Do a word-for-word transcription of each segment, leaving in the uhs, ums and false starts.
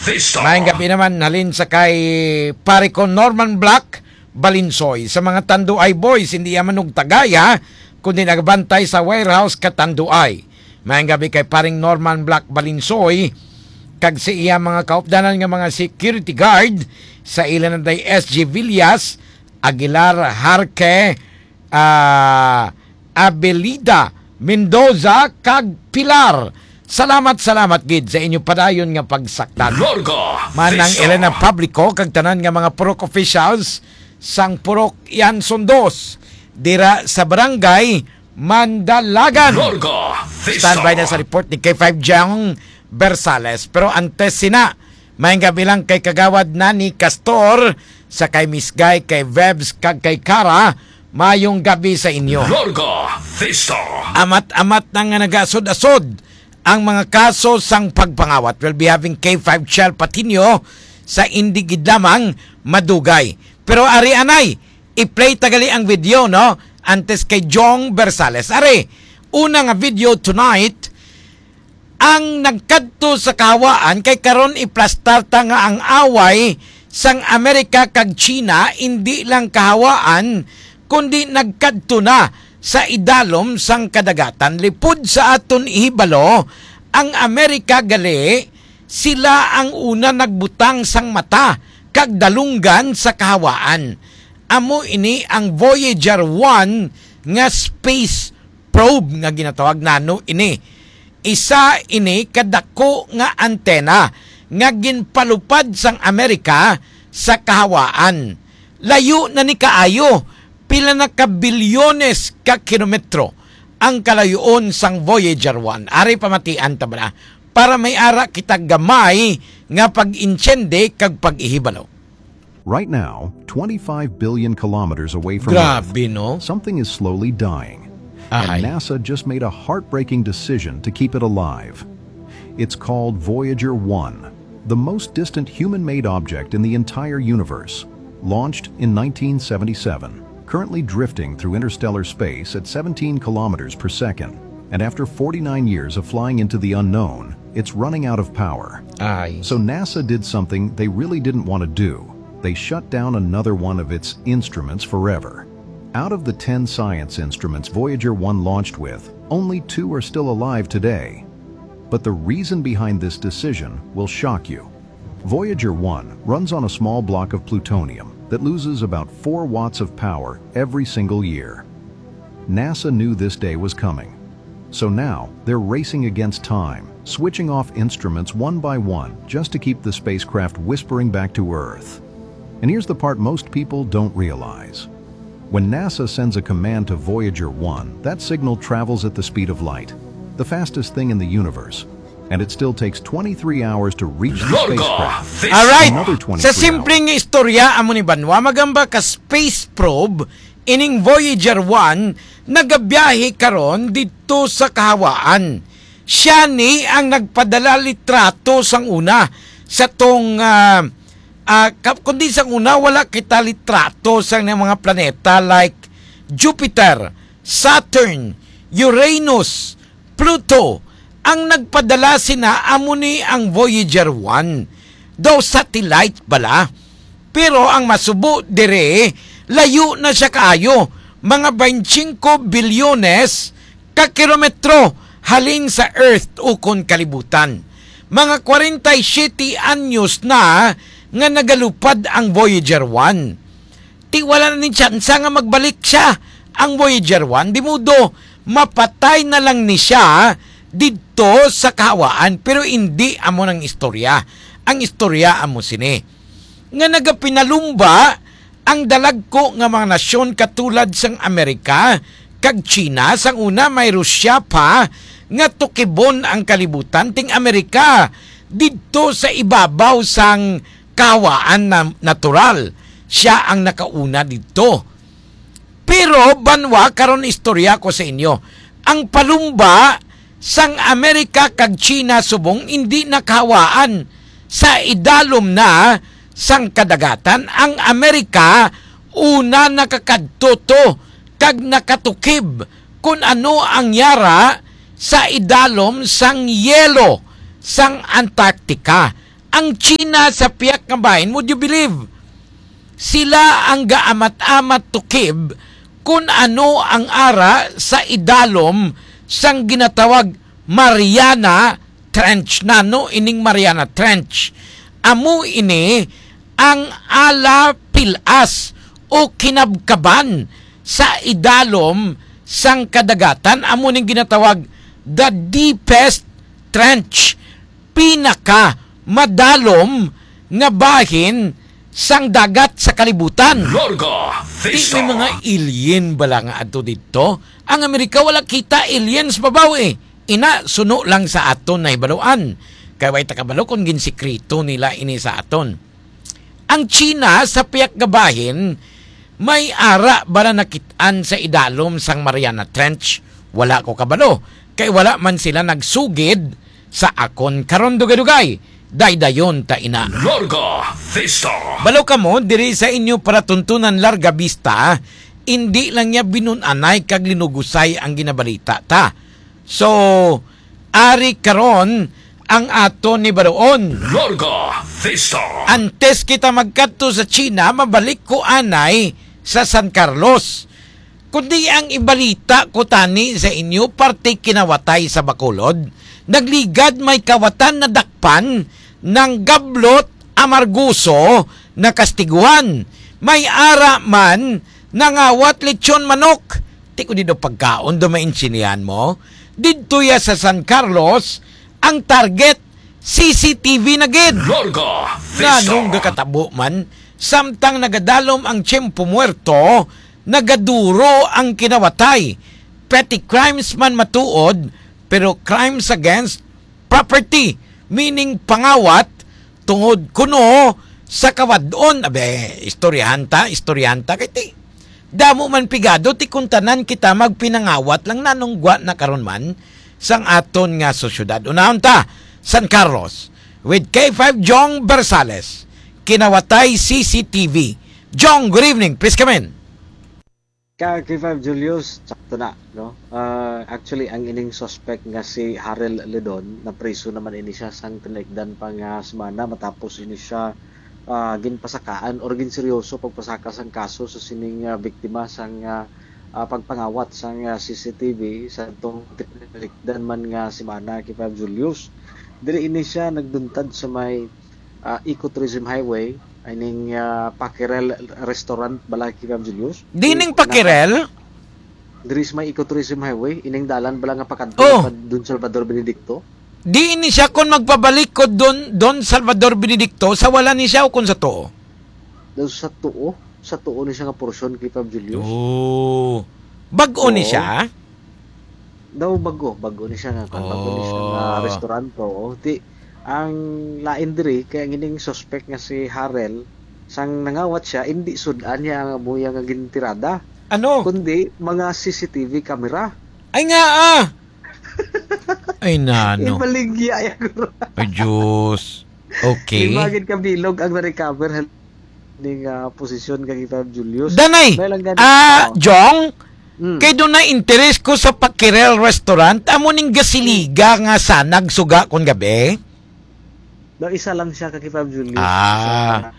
Vista. Maayong gabi naman, halin sa kay pare ko Norman Black Balinsoy. Sa mga Tanduay Boys, hindi yaman og tagay, ha, kundi nagabantay sa warehouse ka Tanduay. Maayong gabi kay paring Norman Black Balinsoy, kag sa iya mga kaupdanan nga mga security guard, sa ila na day S G Villas, Aguilar, Harque, ah, Abelida, Mendoza, kag Pilar. Salamat, salamat gid sa inyo padayon nga pagsaktan. Larga Manang Vista. Elena Publico kag tanan nga mga purok officials sang Purok Yanson Dos dira sa Barangay Mandalagan. Larga Vista. Standby na sa report ni K five Jong Bersales. Pero antes sina, maayong gabi lang kay Kagawad Nani Castor, sa kay Miss Guy, kay Vebs, kag kay Kara, maayong gabi sa inyo. Larga Vista. Amat-amat na nga nagasod-asod ang mga kaso sang pagpangawat. We'll be having K five Shell Patino sa indi gid lamang madugay. Pero ari anay, i-play ta gali ang video, no? Antes kay Jong Bersales. Ari, una nga video tonight, ang nagkadto sa kahawaan, kay karon iplastar ta nga ang away sang Amerika kag China indi lang kahawaan, kundi nagkadto na sa idalom sang kadagatan. Lipod sa aton ihibalo, ang Amerika gali, sila ang una nagbutang sang mata kag dalunggan sa kahawaan. Amo ini ang Voyager one nga space probe nga ginatawag nano ini. Isa ini kadako nga antena nga ginpalupad sang Amerika sa kahawaan. Layo na ni kaayo, pila na ka bilyones ka kilometro ang kalayoon sang Voyager one. Ari pamatian ta bala para may ara kita gamay nga pag-intiende kag pag-ihibalo. Right now, twenty-five billion kilometers away from Earth, Grabe, no? something is slowly dying. Ahay. And NASA just made a heartbreaking decision to keep it alive. It's called Voyager one, the most distant human-made object in the entire universe. Launched in nineteen seventy-seven, currently drifting through interstellar space at seventeen kilometers per second, and after forty-nine years of flying into the unknown, it's running out of power. Ay. So NASA did something they really didn't want to do. They shut down another one of its instruments forever. Out of the ten science instruments Voyager one launched with, only two are still alive today. But the reason behind this decision will shock you. Voyager one runs on a small block of plutonium that loses about four watts of power every single year. NASA knew this day was coming. So now, they're racing against time, switching off instruments one by one just to keep the spacecraft whispering back to Earth. And here's the part most people don't realize. When NASA sends a command to Voyager one, that signal travels at the speed of light, the fastest thing in the universe. And it still takes twenty-three hours to reach the Larga spacecraft. Vista. Alright. Another twenty-three Sa simpleng istorya, amo ni banwa, magamba ka space probe, ining Voyager one, nagabiyahe karon didto sa kahawaan. Siya ni ang nagpadala litrato sang una sa tong, ah, ah, ka-, kundi sang una, wala kita litrato sang mga planeta like Jupiter, Saturn, Uranus, Pluto. Ang nagpadala sina amo ni ang Voyager one. Daw satellite bala. Pero ang masubo dire, layo na siya kaayo, mga twenty-five bilyones ka kilometro halin sa Earth ukon kalibutan. Mga kwarenta y siyete anyos na nga nagalupad ang Voyager one. Ti wala na ni tsansa nga magbalik siya, ang Voyager one. Di modo, mapatay na lang ni siya didto sa kahawaan. Pero hindi amo nang istorya. Ang istorya amo sini, nga nagapinalumba ang dalagko nga mga nasyon katulad sang Amerika kag China, sang una may Russia pa nga tukibon ang kalibutan, ting Amerika didto sa ibabaw sang kahawaan na natural. Siya ang nakauna didto. Pero banwa, karon istorya ko sa inyo. Ang palumba sang Amerika kag China subong indi nakahawaan sa idalom na sang kadagatan. Ang Amerika una nakakadto to kag nakatukib kun ano ang yara sa idalom sang yelo sang Antarctica. Ang China sa pihak nga bahin, would you believe? Sila ang gaamat-amat tukib kun ano ang ara sa idalom sang ginatawag Mariana Trench. Nano ining Mariana Trench? Amo ini ang ala pilas o kinabkaban sa idalom sang kadagatan. Amo ning ginatawag the deepest trench, pinaka madalom nga bahin sang dagat sa kalibutan. Larga Di may Vista. Mga alien bala nga adto didto? Ang Amerika wala kita aliens babaw eh. Ina, suno lang sa aton nahibaluan. Kay way ta kabalo kung ginsikreto nila ini sa aton. Ang China sa pihak nga bahin, may ara ba na nakit-an sa idalom sang Mariana Trench? Wala ko kabalo, kay wala man sila nagsugid sa akon karon. Dugay-dugay, daydayon ta ina. Larga Vista. Balo kamo, diri sa inyo palatuntunan Larga Vista, indi lang niya binun-anay kag linugusay ang ginabalita ta. So, ari karon ang aton ni Baroon. Larga Vista. Antes kita magkadto sa China, mabalik ko anay sa San Carlos. Kundi ang ibalita ko tani sa inyo, parte kinawatay sa Bacolod, nagligad may kawatan nadakpan ng gablot amargoso na kastiguhan. May ara man nangawat lechon manok. Ti ko di daw pagkaon do maintindihan mo. Didto ya sa San Carlos, ang target, C C T V na gid. Larga Vista. Nganong gakatabo man, samtang nagadalom ang tiyempo muerto, nagaduro ang kinawatay. Petty crimes man matuod, pero crimes against property, meaning pangawat tungod kuno sa kawad-on. Abe, istoryahan ta, istoryahan ta, kay ti, damo man pigado, ti kung tanan kita magpinangawat lang, nanong gwa na karon man sang aton nga sosyedad. Unahon ta, San Carlos, with K five Jong Bersales, kinawatay C C T V. Jong, good evening. Please come in. Ka K five Julius, sakto na, no? Ah, actually, ang ining suspect nga si Harel Ledon, napriso naman ini siya sang tinalikdan pa nga semana matapos ini siya, ah, ginpasakaan or ginseryoso pagpasaka sang kaso sa sining, ah, biktima sang, ah, ah, pagpangawat sang, ah, C C T V sa tong tinalikdan man nga semana, K five Julius. Diri ini siya nagduntad sa may, ah, Ecotourism Highway, ining, ah, Pakerel Restaurant bala, K five Julius. Dining Pakerel? Diri sa may Ecotourism Highway, ining dalan bala nga pakadto Oh. pa Don Salvador Benedicto. Di ini siya kon magpabalik ko Don, Don Salvador Benedicto, sa wala ni siya o kon sa tuo? Daw sa tuo, sa tuo ni siya nga porsyon, K five Julius. Oh. Bag-o ni Oo. siya? Daw bago, bago ni siya nga, kwan, bago ni siya nga Oh. restaurant, oo. Ti, ang lain diri, kay ang ining suspect nga si Harel, sang nangawat siya, hindi sud-an niya ang amuya nga gintirada. Ano? Kundi, mga C C T V camera. Ay nga, ah! Ay, nano. Ibaligya, ya, guro. Ay, Diyos. Okay. Lima gid ka bilog ang na-recover. Ning, ah, posisyon kang Ivan Julius. Danay, May lang gani- ah, Oh. Jong, Mm. kay doon na interes ko sa Pakirel Restaurant. Amo ning gasiliga nga sanag suga kon gabi. No, isa lang siya kang Ivan Julius. Ah. Isa lang.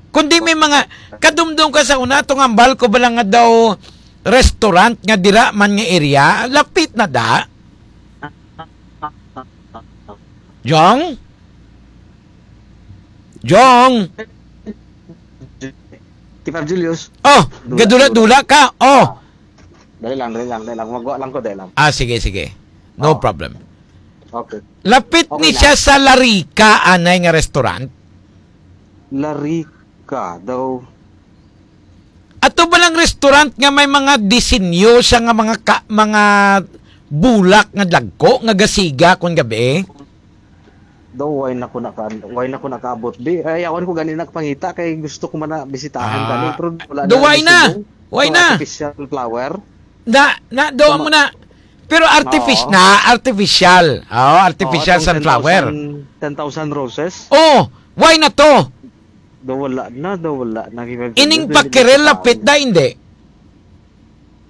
Kundi may mga, kadumdum ka sa una, tong ambal ko ba lang nga daw restaurant nga dira man nga area? Lapit na da. Jong? Jong? Ivan Julius. Oh, Dula, gadula-dula ka. Oh. Dali lang, dali lang, dali lang. Magwa lang ko, dali lang. Ah, sige, sige. No Oh. problem. Okay. Lapit Okay ni na. siya sa Larika, anay nga restaurant. Larika daw. Ato ba lang restaurant nga may mga disenyo siya nga mga ka-, mga bulak nga dagko nga gasiga kon gabi? Daw, why na ko naka-, why na ko nakaabot, di? Ay, awan ko gani nakapangita kay gusto ko man na bisitahan Ah, gani, pero wala daw, na why na? bisita. Why So, na? artificial flower. Na, na, daw Tama. mo na. Pero artific-, Oo. na, artificial. Oh, artificial Oo, itong sunflower. ten thousand, ten thousand roses. Oh, why na to? Daw wala na, daw wala na. Ining Dili Pakirel, na lapit na, hindi?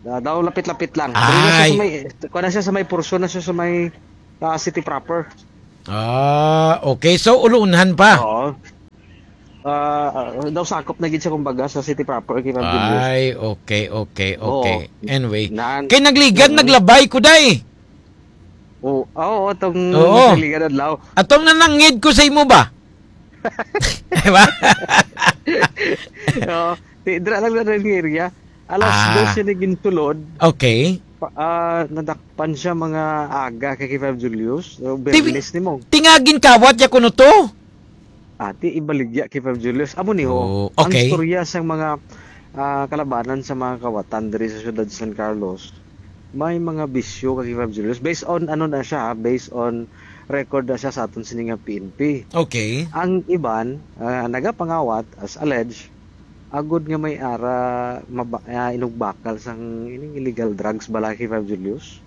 Ah, daw lapit-lapit lang. Dili na siya sa Ay. may, kuha na siya sa may portion na siya sa may, ah, city proper. Ah, okay. So, ulunhan pa. Oo. Ah, ah, daw sakop na gid siya, kumbaga, sa city proper, Kevin Julius. Ay, okay, okay, Oo. okay. Anyway. Nan- Kay nagligad, Mm. naglabay ko, day. Oo, oo, atong Oo. nagligad adlaw. Atong nanangid ko sa imo ba? Diba? Oo. Di, dira lang na rin nga area. Alas Ah. dos siya naging tulod. Okay. Pa, ah, nadakpan siya mga aga kay Kevin Julius. So, Ti-, Bernes ni mo. Tingagin kawat ya kuno to? Ati, ibaligya kay Fab Julius. Amo ni ho, Oh, ang okay. istorya sang mga, ah, kalabanan sa mga kawatan diri sa siyudad sa San Carlos, may mga bisyo kay Fab Julius. Based on, ano na siya, ha? Based on record na siya sa aton sini nga P N P. Okay. Ang iban, ah, nagapangawat, as alleged, agod nga may ara maba-, ah, inugbakal sang ining illegal drugs bala kay Fab Julius.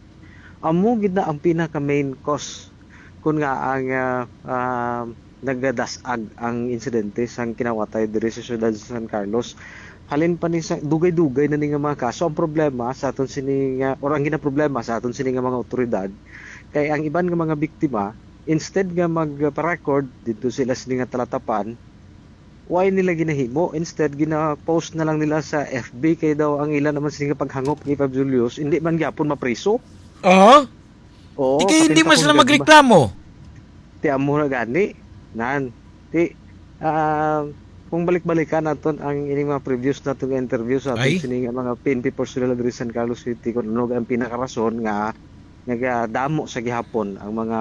Amo gid na ang pinaka main cause kun nga ang, ah, ah, nagadas-ag ang insidente sang kinawatay diri sa siyudad sa San Carlos. Halin pa ni sa dugay-dugay na ni nga mga kaso. Ang problema sa aton sini nga, or ang ginaproblema sa aton sini nga mga awtoridad, kay ang iban nga mga biktima, instead nga magpa-record didto sila sini nga talatapan, why nila ginahimo? Instead, gina-post na lang nila sa F B, kay daw ang ila naman sini nga paghangop kay Fab Julius, hindi man gyapon mapriso. Ah? Oo, Di kay hindi katinta man kung sila gagma- magreklamo. Ti amo na gani. Nan. Ti, ah, kung balik-balikan naton ang ining mga previous naton nga interview sa aton Ay. sini nga mga P N P personnel diri sa San Carlos City, kung ano ang pinakarason nga nagadamo sa gihapon ang mga,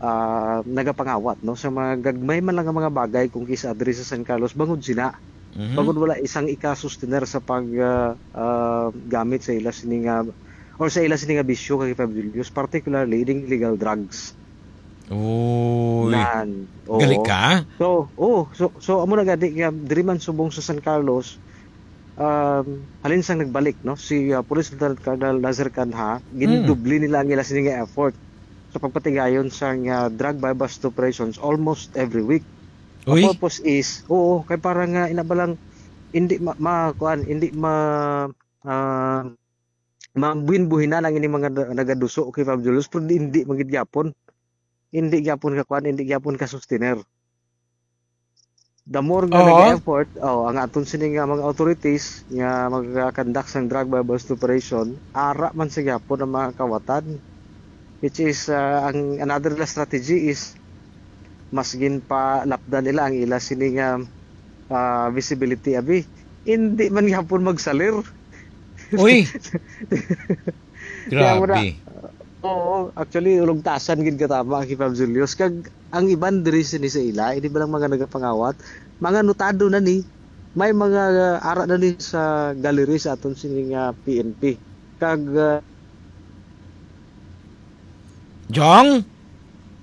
ah, nagapangawat, no, sa mga gagmay man lang nga mga bagay kung kis-a diri sa San Carlos bangod sina. Mhm. Bangod wala isang ikasustener sa pag, ah, ah, gamit sa ila sini nga, or sa ila sini nga bisyo kay Fab Julius, particularly ining illegal drugs. Uy. Nan, oo. Gali ka? So, oo. So, so, amo na gani nga diri man subong sa San Carlos, um, halin sang nagbalik, no, si, ah, Police Lieutenant Colonel Nazir Canha, Hmm. gindubli nila ang ila sini nga effort sa pagpatigayon sang, ah, drug buy-bust operations almost every week. Ang Uy. purpose is, oo, kay para nga ina ba lang, hindi ma-, ma-, kuan, hindi ma-, ah, mabuhin-buhinan ang ini mga na-, nagaduso kay Fab Julius, pero di, hindi man gid gyapon. Hindi gyapon ka kuan, hindi gyapon ka sustener. The more nga Oo. nag-effort, oh, ang aton sini nga mga authorities nga mag-conduct sang drug buy-bust operation, ara man sa gyapon ang mga kawatan. Which is, ah, ang another nila strategy is mas ginpalapdan nila ang ila sini nga, ah, visibility, abi. Hindi man gyapon magsalir. Uy! Kaya mo na, Grabe. Oo, actually, ulugtasan gid ka tama, kay Fab Julius. Kag ang iban diri sini sa ila, ini ba lang mga nagapangawat, mga notado na ni, may mga, uh, ara na ni sa gallery sa aton sini nga P N P. Kag, uh, Jong?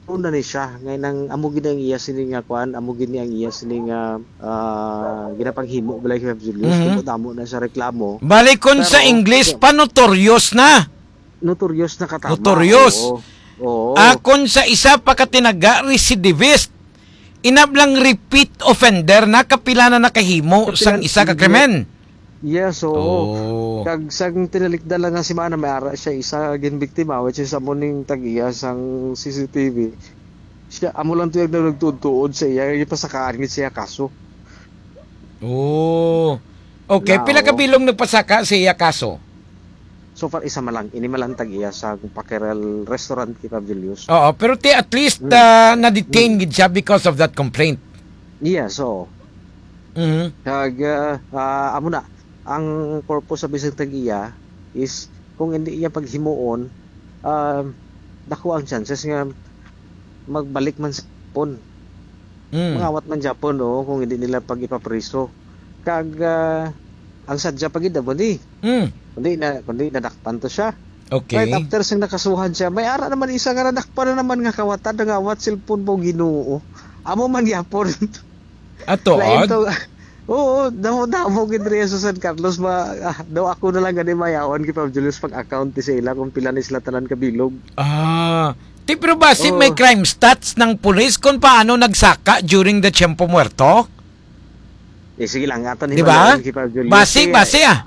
Una ni siya, ngay nang amo gid ang iya sini nga kuan, amo gid ni ang iya sini nga, ah, ginapanghimo, balay, kay Fab Julius, Mhm. kung damo na sa reklamo. Bali, kung sa Pero, English pa, notorious na. Notorious na katama. Notorious. Oo. Oo. Akon sa isa pa ka tinaga, recidivist. Inablang repeat offender na, kapila na nakahimo Kapila, sang isa ka yes. krimen. Yes, oo. Oh. Kag sang tinalikdan lang nga semana, may ara siya isa ginbiktima, which is amo ning tag-iya sang C C T V. Siya, amo lang to yung nagtuod-tuod sa iya, ipasakaan gid siya kaso. Oh. Okay, Now, pila ka bilog nagpasaka sa iya kaso? So far, isa man lang. Ini man lang tag-iya sa Pakerel Restaurant, kay Fab Julius. Oo, pero ti at least, Hmm. ah, na-detain Hmm. gid siya because of that complaint. Yes, oo. Mhm. Kag, ah, ah, amo na, ang purpose sa bisag tag-iya is kung hindi iya paghimuon, ah, dako ang chances nga magbalik man sa Japon. Mm. Mangawat man Japon, oo, kung hindi nila pag-ipapriso. Kag, ah, ang sadya pa gid amo ni. Mm. Kundi na, kundi nadakpan to siya. Okay. Right after sang nakasuhan siya, may ara naman isa nga nadakpan na naman nga kawatan, nangawat cellphone mo, Ginoo. Amo man gyapon. Ato, Lain odd? to. Oo, damo-damo gid diri sa San Carlos, ma-, ah, daw ako na lang gani mayawan kay Pab Julius pag-account ni sa ila kung pila ni sila tanan kabilog. Ah, ti, pero basi Oo. may crime stats ng pulis kung paano nagsaka during the Tiempo Muerto? Eh, sige lang, aton Di ba? himaluon kay Pab Julius. Basi, Kay, basi, ah.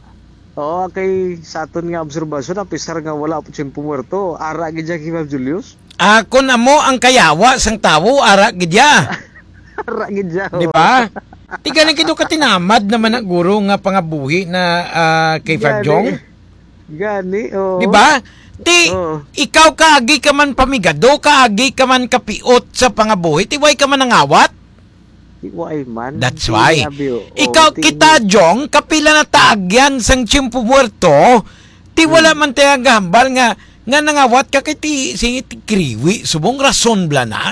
Oo, kay sa aton nga obserbasyon, apisar nga wala pa Tiempo Muerto, ara gid siya kay Pab Julius. Ah, kun amo ang kayawa sang tawo, ara gid ya. Ara gid ya, Di oh. ba? Ti gani gid katinamad naman na guro nga pangabuhi na, ah, K five Gani. Jong. Gani, oh. Di ba? Ti, Oh. ikaw kaagi ka man pamigado, kaagi ka man kapiot sa pangabuhi, ti way ka man nangawat? Di way man. That's Di why. abi, oh. Ikaw, Oh, ti kita, Jong, kapila na taag yan sang Tiempo Muerto, ti wala Hmm. man tayo gahambal nga, nga nangawat ka kay ti, si ti Kriwi, subong rason bala na.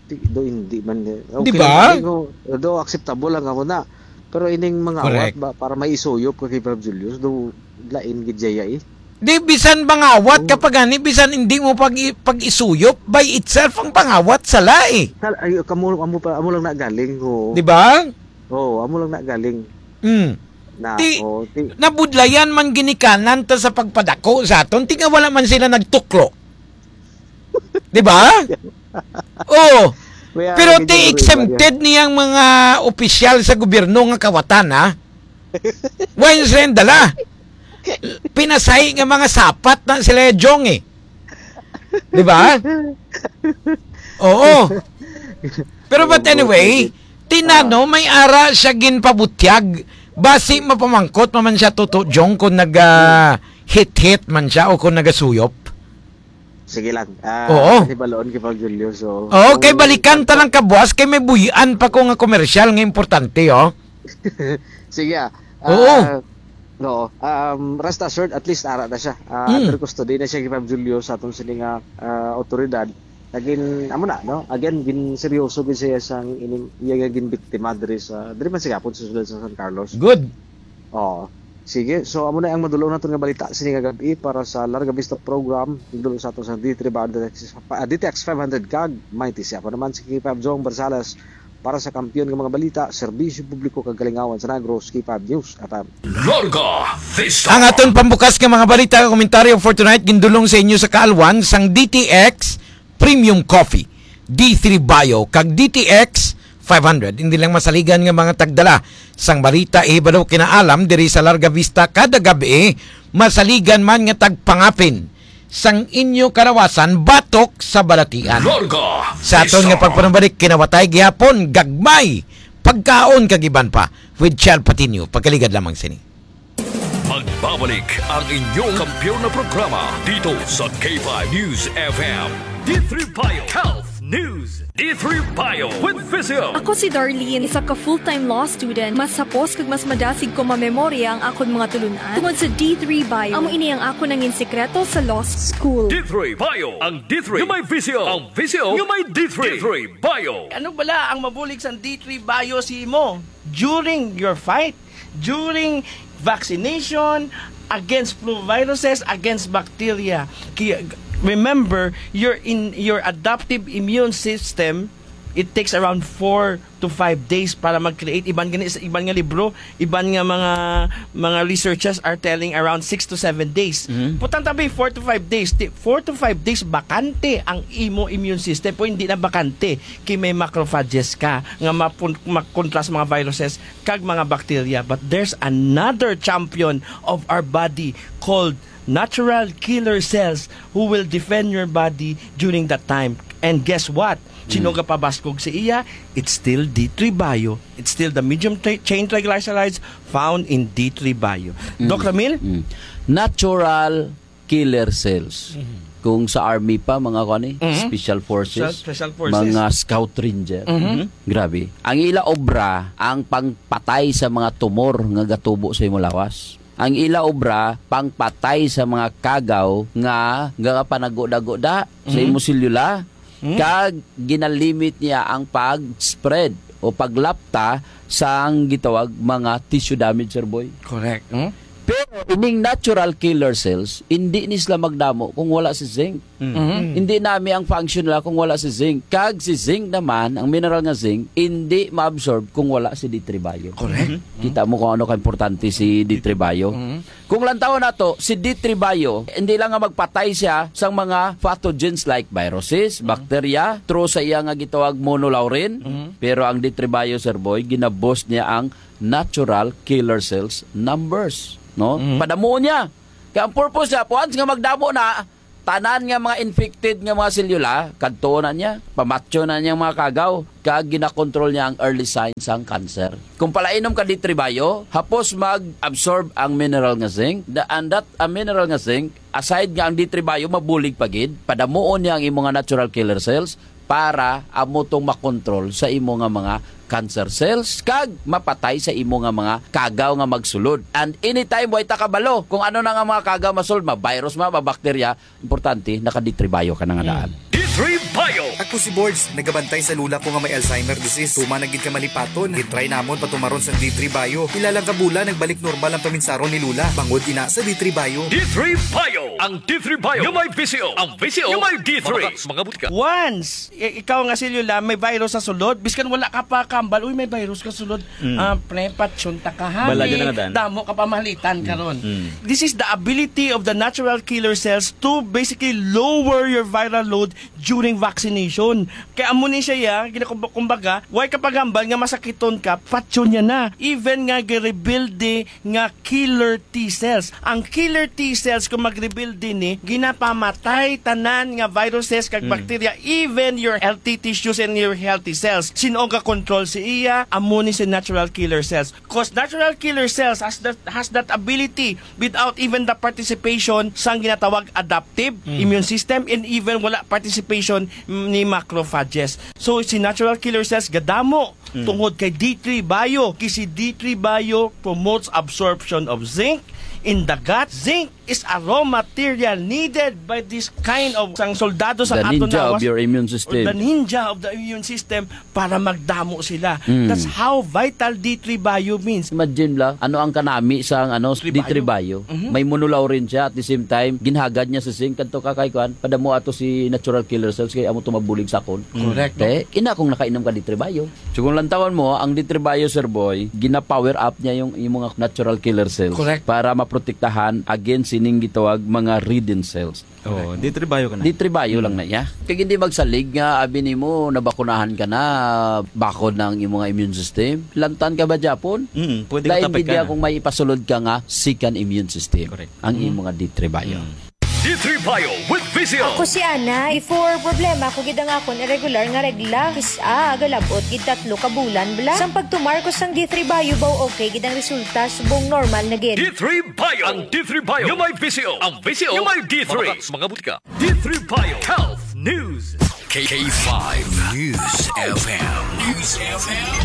Di, do, hindi man, eh. Di Okay ba? lang, galing, oh. Do, acceptable lang ako na. Pero ining mga Correct. awat ba, para may isuyop ka kay Pob Julius, do, lain gid siya, eh. Di, bisan mangawat ka Oh. pa gani, bisan hindi mo pag, pag-isuyop, by itself ang pangawat sala, eh. Sal-, ay, kamo, amo pa, amo lang na galing, oh. Di ba? Oo, amo lang na galing. Mm. Na, Ti, oh, ti- nabudlayan man ginikanan ta sa pagpadako sa aton, ti nga wala man sila nagtuklo. Di ba? Oh. May Pero ara ti gid yung exempted niyang mga opisyal sa gobyerno nga kawatan, ha? Why sila dala? Pinasay nga mga sapat na sila, Jong, eh. Di ba? Oo. Pero but Oo, anyway, sige. Tinano, Ah. may ara siya ginpabutyag. Basi mapamangkot pa man siya, Toto Jong, kung naga-hit-hit man siya o kung nagasuyop. Sige lang. Ah, Oo. Hibalon kay Pag Julio, so, Oo, kay kung balikan ta lang kabuas, kay may buhian pa ko nga komersyal nga importante, oh. Sige, ah. Oo. Ah, no, um, rest assured, at least ara na siya. Ah, Mm. under custody na siya kay Pag Julio sa atong sini nga, ah, otoridad. Nagin, amo na, no? Again, gin seryoso gid siya sang ining, iya nga ginbiktima diri sa, diri man sa gihapon sa siyudad sa San Carlos. Good. Oo. Sige, so amo na ang madulong naton nga balita sini nga gab-i para sa Larga Vista program. Dulong sa aton sa D three Bayo, D T X, ah, D T X five hundred kag Mighty. Siya pa naman si K five Jong Barzales para sa kampiyon nga mga balita, serbisyo publiko kag kalingawan sa Negros, K five News F M. Larga Vista. Ang aton pambukas nga mga balita, komentaryo for tonight, gindulong sa inyo sa kaalwan sang D T X Premium Coffee, D three Bio, kag D T X five hundred. Hindi lang masaligan nga mga tagdala sang balita, ihibalo kinaalam diri sa Larga Vista kada gabi, masaligan man nga tagpangapin sang inyo kalawasan batok sa balatian. Larga Sa aton nga Vista. pagpanumbalik, kinawatay gihapon, gagmay, pagkaon kag iban pa with Chel Patino. Pagkaligad lamang sini. Magbabalik ang inyong kampiyon na programa dito sa K five News F M. D three Bio Health News. D three Bio with Physio. Ako si Darlene, isa ka full-time law student. Mas hapos kag mas madasig ko mamemorya ang akon mga tulunan tungod sa D three Bio. Amo ini ang akon nangin sikreto sa law school. D three Bio, ang D three nga may Physio, ang Physio nga may D three. D three Bio. Ano bala ang mabulig sang D three Bio sa imo during your fight? During vaccination, against flu viruses, against bacteria. Ki-, remember, your in, your adaptive immune system, it takes around four to five days para mag-create. Iban gani sa iban nga libro, iban nga mga, mga researchers are telling around six to seven days. Mhm. Putang tabi, four to five days. Ti-, four to five days, bakante ang imo immune system. O hindi na bakante, kay may macrophages ka nga mapun-, makontra sa mga viruses kag mga bacteria. But there's another champion of our body called natural killer cells who will defend your body during that time. And guess what? Sino Mm. gapabaskog sa iya? It's still D three Bio. It's still the medium tra-, chain triglycerides found in D three Bio. Mm. Doc Ramil? Mm. Natural killer cells. Mhm. Kung sa army pa, mga kuan ni, Mhm. special forces, Special, special forces. mga scout ranger. Mhm. Mhm. Grabe. Ang ila obra, ang pangpatay sa mga tumor nga gatubo sa imong lawas. Ang ila obra, pangpatay sa mga kagaw nga, nga panaguda-guda sa Mhm. imong selula. Hmm? Kag ginalimit niya ang pag-spread o paglapta sang gitawag mga tissue damage, Sir Boy. Correct. Hmm? Pero ining natural killer cells, hindi ni sila magdamo kung wala si zinc. Hmm. Mhm. Hindi nami ang function nila kung wala si zinc. Kag si zinc naman, ang mineral nga zinc, hindi maabsorb kung wala si D three Bio. Correct. Mhm. Kita mo kung ano ka-importante si D three Bio. Mhm. Kung lantawon nato, si D three Bio, hindi lang nga magpatay siya sa mga pathogens like viruses, Mhm. bacteria, through sa iya nga gitawag monolaurin, Mhm. pero ang D three Bio, Sir Boy, ginaboost niya ang natural killer cells numbers, no? Mhm. Padamuon niya. Kaya ang purpose niya, once nga magdamo na, Tanan nga mga infected nga mga selula, kadto na niya, pamatyo na niyang mga kagaw, kag ginakontrol niya ang early signs sang cancer. Kung palainom ka D three Bio, hapos mag-absorb ang mineral nga zinc, the, and that, ah, mineral nga zinc, aside nga ang D three Bio mabulig pa gid, padamuon niya ang imo nga natural killer cells para amo tong makontrol sa imo nga mga cancer cells kag mapatay sa imo nga mga kagaw nga magsulod. And anytime, way ta kabalo kung ano na nga mga kagaw masulod, ma-virus ma, ma-bacteria, importante, naka-D three Bio ka na nga daan. D three Bio. Ako si Borge, nagabantay sa lula ko nga may Alzheimer disease. Tuman na gid ka malipaton. Gitry namon patumaron sang D three Bio. Pila lang ka bulan, nagbalik normal ang paminsaron ni Lula. Bangod ina sa D three Bio. D three Bio. Ang D three Bio nga may V C O. Ang V C O nga may D three. Mga bakas, mga butika. Once i-, ikaw nga selula may virus sa sulod, biskan wala ka pa kambal, "Uy, may virus ka sulod." Mm. Ah, pre, patyon ta ka, ha? Bala dyan na nga daan. Damo ka pamalitan karon. Mm. This is the ability of the natural killer cells to basically lower your viral load during vaccination. Kaya amo ni siya, ya, ginakumba-, kumbaga, way ka pagambal nga masakiton ka, patyon niya na. Even nga girebuild nga killer T cells. Ang killer T cells, kung mag-rebuild din ni, ginapamatay tanan nga viruses kag Mm. bacteria, even your healthy tissues and your healthy cells. Sin-o ga-control si iya? Amo ni si natural killer cells. 'Cause natural killer cells has that, has that ability without even the participation sang ginatawag adaptive Mm. immune system and even wala participation ni macrophages. So, si natural killer cells gadamo Mm. tungod kay D three Bio. Kay si D three Bio promotes absorption of zinc in the gut. Zinc is a raw material needed by this kind of sang soldado sa The aton ninja of lawas, your immune or system. The ninja of the immune system para magdamo sila. Mm. That's how vital D three Bio means. Imagine la, ano ang kanami sang, ano, D three Bio? D three Bio? Mhm. May monolaurin siya, at the same time, ginhagad niya sa zinc, kadto ka kay kuan, padamo ato si natural killer cells, kay amo to mabulig sa akon. Correct. Te, ina kung nakainom ka D three Bio. So kung lantawan mo, ang D three Bio, Sir Boy, gina-power up niya yung, yung mga natural killer cells. Correct. Para maprotektahan against sining gitawag mga ridden cells. Oh, correct. D three Bio ka na. D three Bio lang Mm. na iya. Kay hindi magsalig nga abi nimo nabakunahan ka na, bakod na ang imong immune system. Lantan ka ba, Japon? Mm, pwede ka Lain gid tapik ka niya na. Kung may ipasulod ka nga second immune system. Correct. Ang Mm. imong D three Bio. Mm. D three Bio with V C O. Ako si Ana. Before, problema ko gid ang akon irregular nga regla. Kis-a, galabot gid tatlo ka bulan bala. Sang pagtumar ko sang D three Bio, baw okay gid ang resulta, subong normal na gid. D three Bio. Ang D three Bio nga may V C O. Ang V C O nga may D three. Mga bakas, mga butika. D three Bio Health News. K five News F M. News F M.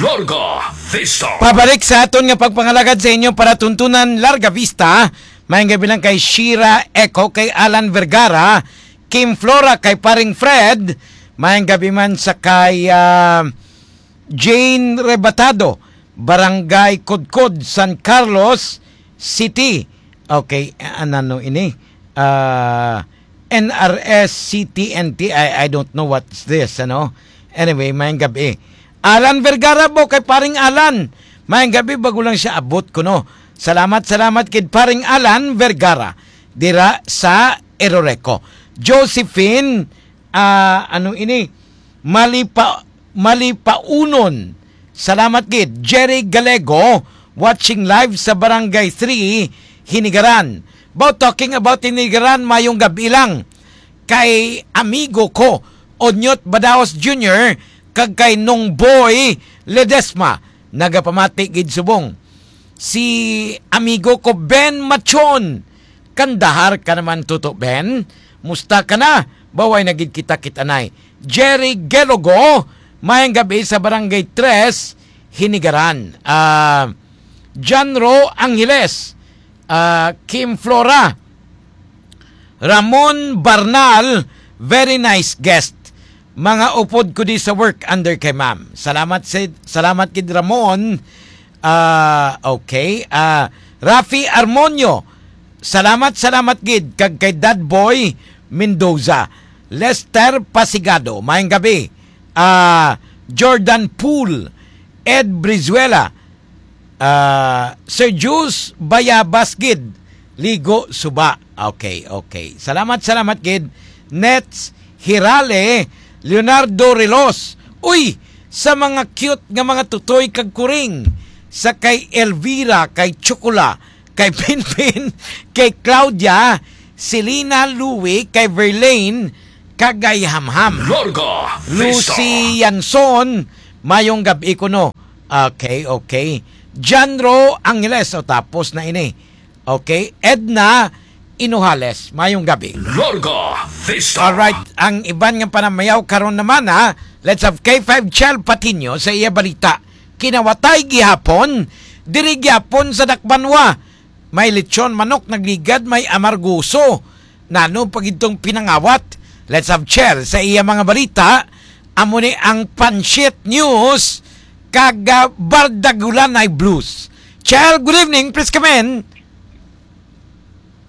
Larga Vista. Pabalik sa aton nga pagpangalagad sa inyo para tuntunan Larga Vista. Maayong gabi lang kay Shira Eco, kay Alan Vergara, Kim Flora, kay Paring Fred. Maayong gabi man sa kay, ah, Jane Rebatado, Barangay Kudkod, San Carlos City. Okay, ano ini? Ah, N R S C T N T. I, I don't know what's this, ano? Anyway, maayong gabi. Alan Vergara po, kay Paring Alan. Maayong gabi, bago lang siya abot ko, no? Salamat, salamat kid Paring Alan Vergara dira sa Eroreco. Josephine, ah, ano ini? Malipa-, Malipaunon. Salamat gid. Jerry Galego, watching live sa Barangay three, Hinigaran. About talking about Hinigaran, mayong gabi lang. Kay amigo ko, Onyot Badaos Junior, kag kay Nong Boy Ledesma, nagapamati gid subong. Si amigo ko, Ben Machon, Kandahar ka naman, Toto Ben. Musta ka na? Baway na gid kita kit-anay. Jerry Gelogo, maayong gabi sa Barangay Tres, Hinigaran. Ah, John Ro Angeles, ah, Kim Flora, Ramon Barnal, very nice guest. Mga upod ko di sa work under kay ma'am. Salamat sa, salamat kid Ramon. Ah, okay. Ah, Rafi Armonio, salamat, salamat gid. Kag kay Dad Boy Mendoza, Lester Pasigado, maayong gabi. Ah, Jordan Pool, Ed Brizuela, ah, Sir Juice Bayabas gid, Ligo Suba. Okay, okay. Salamat, salamat gid. Nets Hirale, Leonardo Relos. Uy, sa mga cute nga mga tutoy kag kuring, sa kay Elvira, kay Chukula, kay Pinpin, kay Claudia, Selena Louie, kay Verlaine, kag kay Hamham. Larga Vista. Lucy Yanson, mayong gab-i kuno. Okay, okay. Janro Angeles, o, tapos na ini. Okay, Edna Inuhales, mayong gab-i. Larga Vista. Alright, ang iban nga panamayaw karon naman, ha. Let's have K five Chel Patino sa iya balita. Kinawatay gihapon, diri gihapon sa Dakbanwa. May lechon manok nagligad, may amargoso. Nano pa gid tong pinangawat? Let's have Chel sa iya mga balita. Amo ni ang Pansit News kag, ah, Bardagulanay Blues. Chel, good evening. Please come in.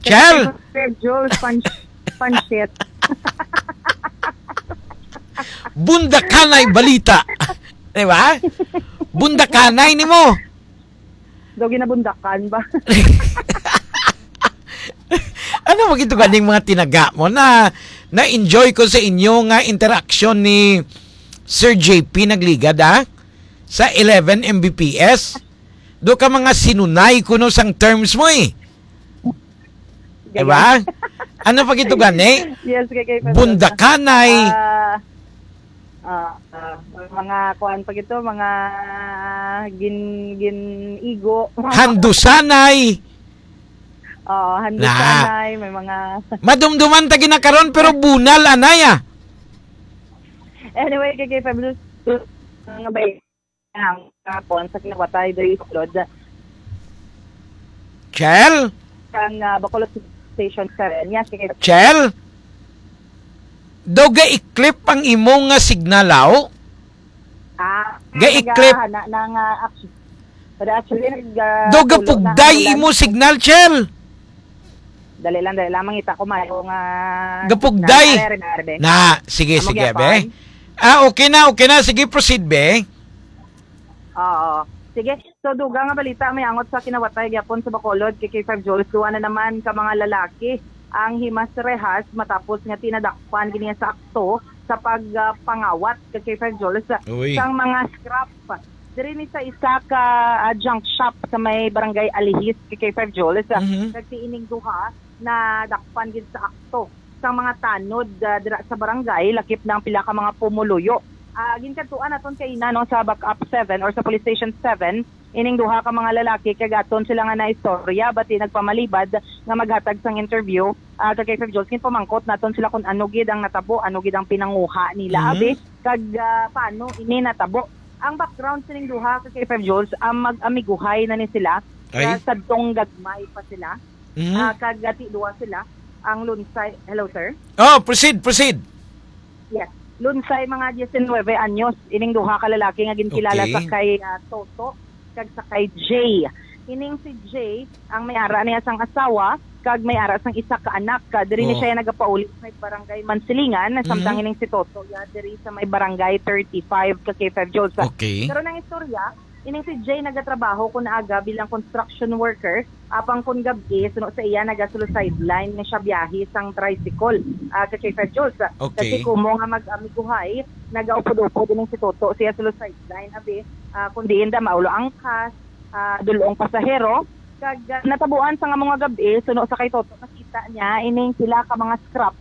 Chel! Sir Jules, pan-, pansit. Bundakanay balita. Di ba? Bundakanay ni mo. Daw ginabundakan ba? Ano mo gito ganing mga tinaga mo na na-enjoy ko sa inyo nga interaksyon ni Sir J P Nagligad, ah? Sa eleven M B P S. Do ka mga sinunay kuno sang terms mo, eh. Diba? Ano pa gito gani? Yes, kay, kay Bundakanay. Ah, ah, ah, mga kuan pa gito, mga gin-, gin-igo. Handusanay. Oo, handusanay, may mga Madumduman ta ginakaron, pero bunal, anay, ah. Anyway, kay, kay Fabulous, nga ba ang kapon sa kinawatay, do you explode? Chel? Ang, ah, Bacolod Station seven. Yes, sige. Chel? Daw ga-i-clip ang imo nga signal, aw? Ah, Ga-i-clip. Naga-, na, na nga action. Pero actually, nag, ah, Daw tulo na gapugday ang ulan. Imo signal, Chel. Dali lang, dali lang. Mangita ko, mayo nga Gapugday. Signal. Are, are, are, are. Na, sige, Amo sige, gyapon. Be. Ah, okay na, okay na. Sige, proceed, be. Oo. Sige. So, dugang nga balita may angot sa kinawatay gyapon sa Bacolod kay K five Jules. Duwa na naman ka mga lalaki ang himas-rehas matapos nga tinadakpan gid niya sa akto sa pag, ah, pangawat kay K five Jules Uy. Sang mga scrap. Diri ni sa isa ka, ah, junk shop sa may barangay Alihis kay K five Jules. Mhm. Kag si ining duha nadakpan gid sa akto sang mga tanod, ah, dira sa barangay, lakip na ang pila ka mga pumuluyo. Ah, ginkadtuan naton kaina, no, sa Backup seven or sa Police Station seven, ining duha ka mga lalaki, kag aton sila nga naistorya, bati nagpamalibad nga maghatag sang interview, ah, kag kay Sir Jules, ginpamangkot naton sila kung ano gid ang natabo, ano gid ang pinanguha nila, Mhm. abi, kag, ah, paano ini natabo. Ang background sining duha, kag kay Sir Jules, ang mag-amiguhay na ni sila, Ay. ah, sadtong gagmay pa sila. Mhm. Ah, kag ati duwa sila, ang Lunsay. Hello, sir? Oh, proceed, proceed. Yes. Lunsay, mga diecinuebe anyos, ining duha ka lalaki nga ginkilala Okay. sa kay, ah, Toto kag sa kay Jay. Ining si Jay, ang may ara niya sang asawa, kag may ara sang isa ka anak. Ka, diri ni Oh. siya nagapauli sa may barangay Mansilingan, samtang Mhm. ining si Toto, ya, diri sa may barangay thirty-five ka K five Jules. Okay. Pero nang istorya, ining si Jay nagatrabaho kun aga bilang construction worker, apang kun gab-i, suno sa iya, nagasulo sideline nga siya biyahe sang tricycle, ah, ka K five Jules. Okay. Kasi kumo nga mag-amiguhay, nagaupod-upod ining si Toto siya sulo sideline, abi, ah, kun diin da maulo ang kas, ah, dulong pasahero, kag, ah, natabuan sa nga mga gab-i, suno sa kay Toto, nakita niya ining pila ka mga scrap.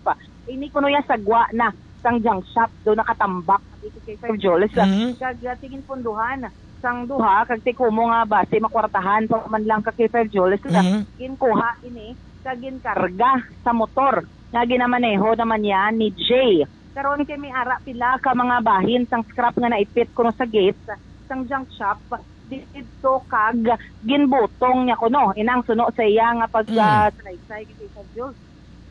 Ini kuno ya sagwa na sang junk shop, do nakatambak dito kay Sir Jules. Mhm. Kag, ah, tingin punduhan sang duha, kag tikumo nga basi makwartahan pa man lang ka kay Sir Jules. Mhm. Ginkuha ini, kag ginkarga sa motor nga ginamaneho naman niya ni Jay. Karon kay may ara pila ka mga bahin sang scrap nga naipit kuno sa gate sang junk shop didto, kag ginbutong niya kuno inang suno sa iya nga pag, Mm. ah, salaysay kay Sir Jules.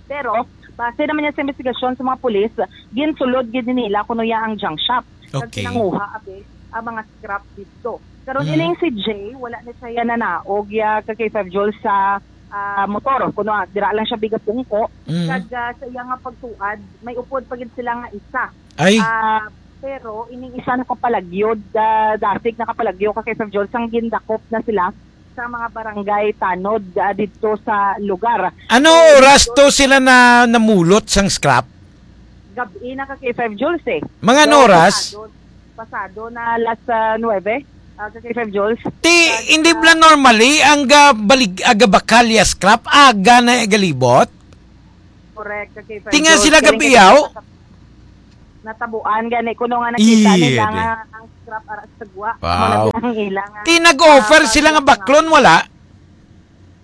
Pero base naman niya sa investigasyon sa mga pulis, ginsulod gid nila kuno ya ang junk shop. Kag Okay. pinanguha, abi, ang mga scrap didto. Karon Mm. ining si Jay, wala na siya nanaog ya ka kay Sir Jules sa, ah, motor. Kuno, ah, dira lang siya bigapungko. Mm. Kag, ah, sa iya nga pagtuad, may upod pa gid sila nga isa. Ay. Ah, pero ining isa nakapalagyod, ah, dasig nakapalagyo ka kay Sir Jules, sang gindakop na sila sa mga barangay tanod, ah, didto sa lugar. Ano So, oras didto to sila na namulot sang scrap? Gab-i na ka kay Sir Jules, eh. Mga ano So, oras? Pasado, pasado na alas, ah, nuwebe, ah, ka kay Sir Jules. Ti, At, hindi ah, bala normally ang gabalig-, ah, gabakalya scrap, aga na galibot? Correct, ka Kay Ferjol. Tinga sila gabiyaw? Natabuan gani kuno nga nakita Iya, nila di. nga ang scrap ara sa gwa. Wow. Mao na ang ila nga, Ti nag-offer ah, sila nga baklon, wala?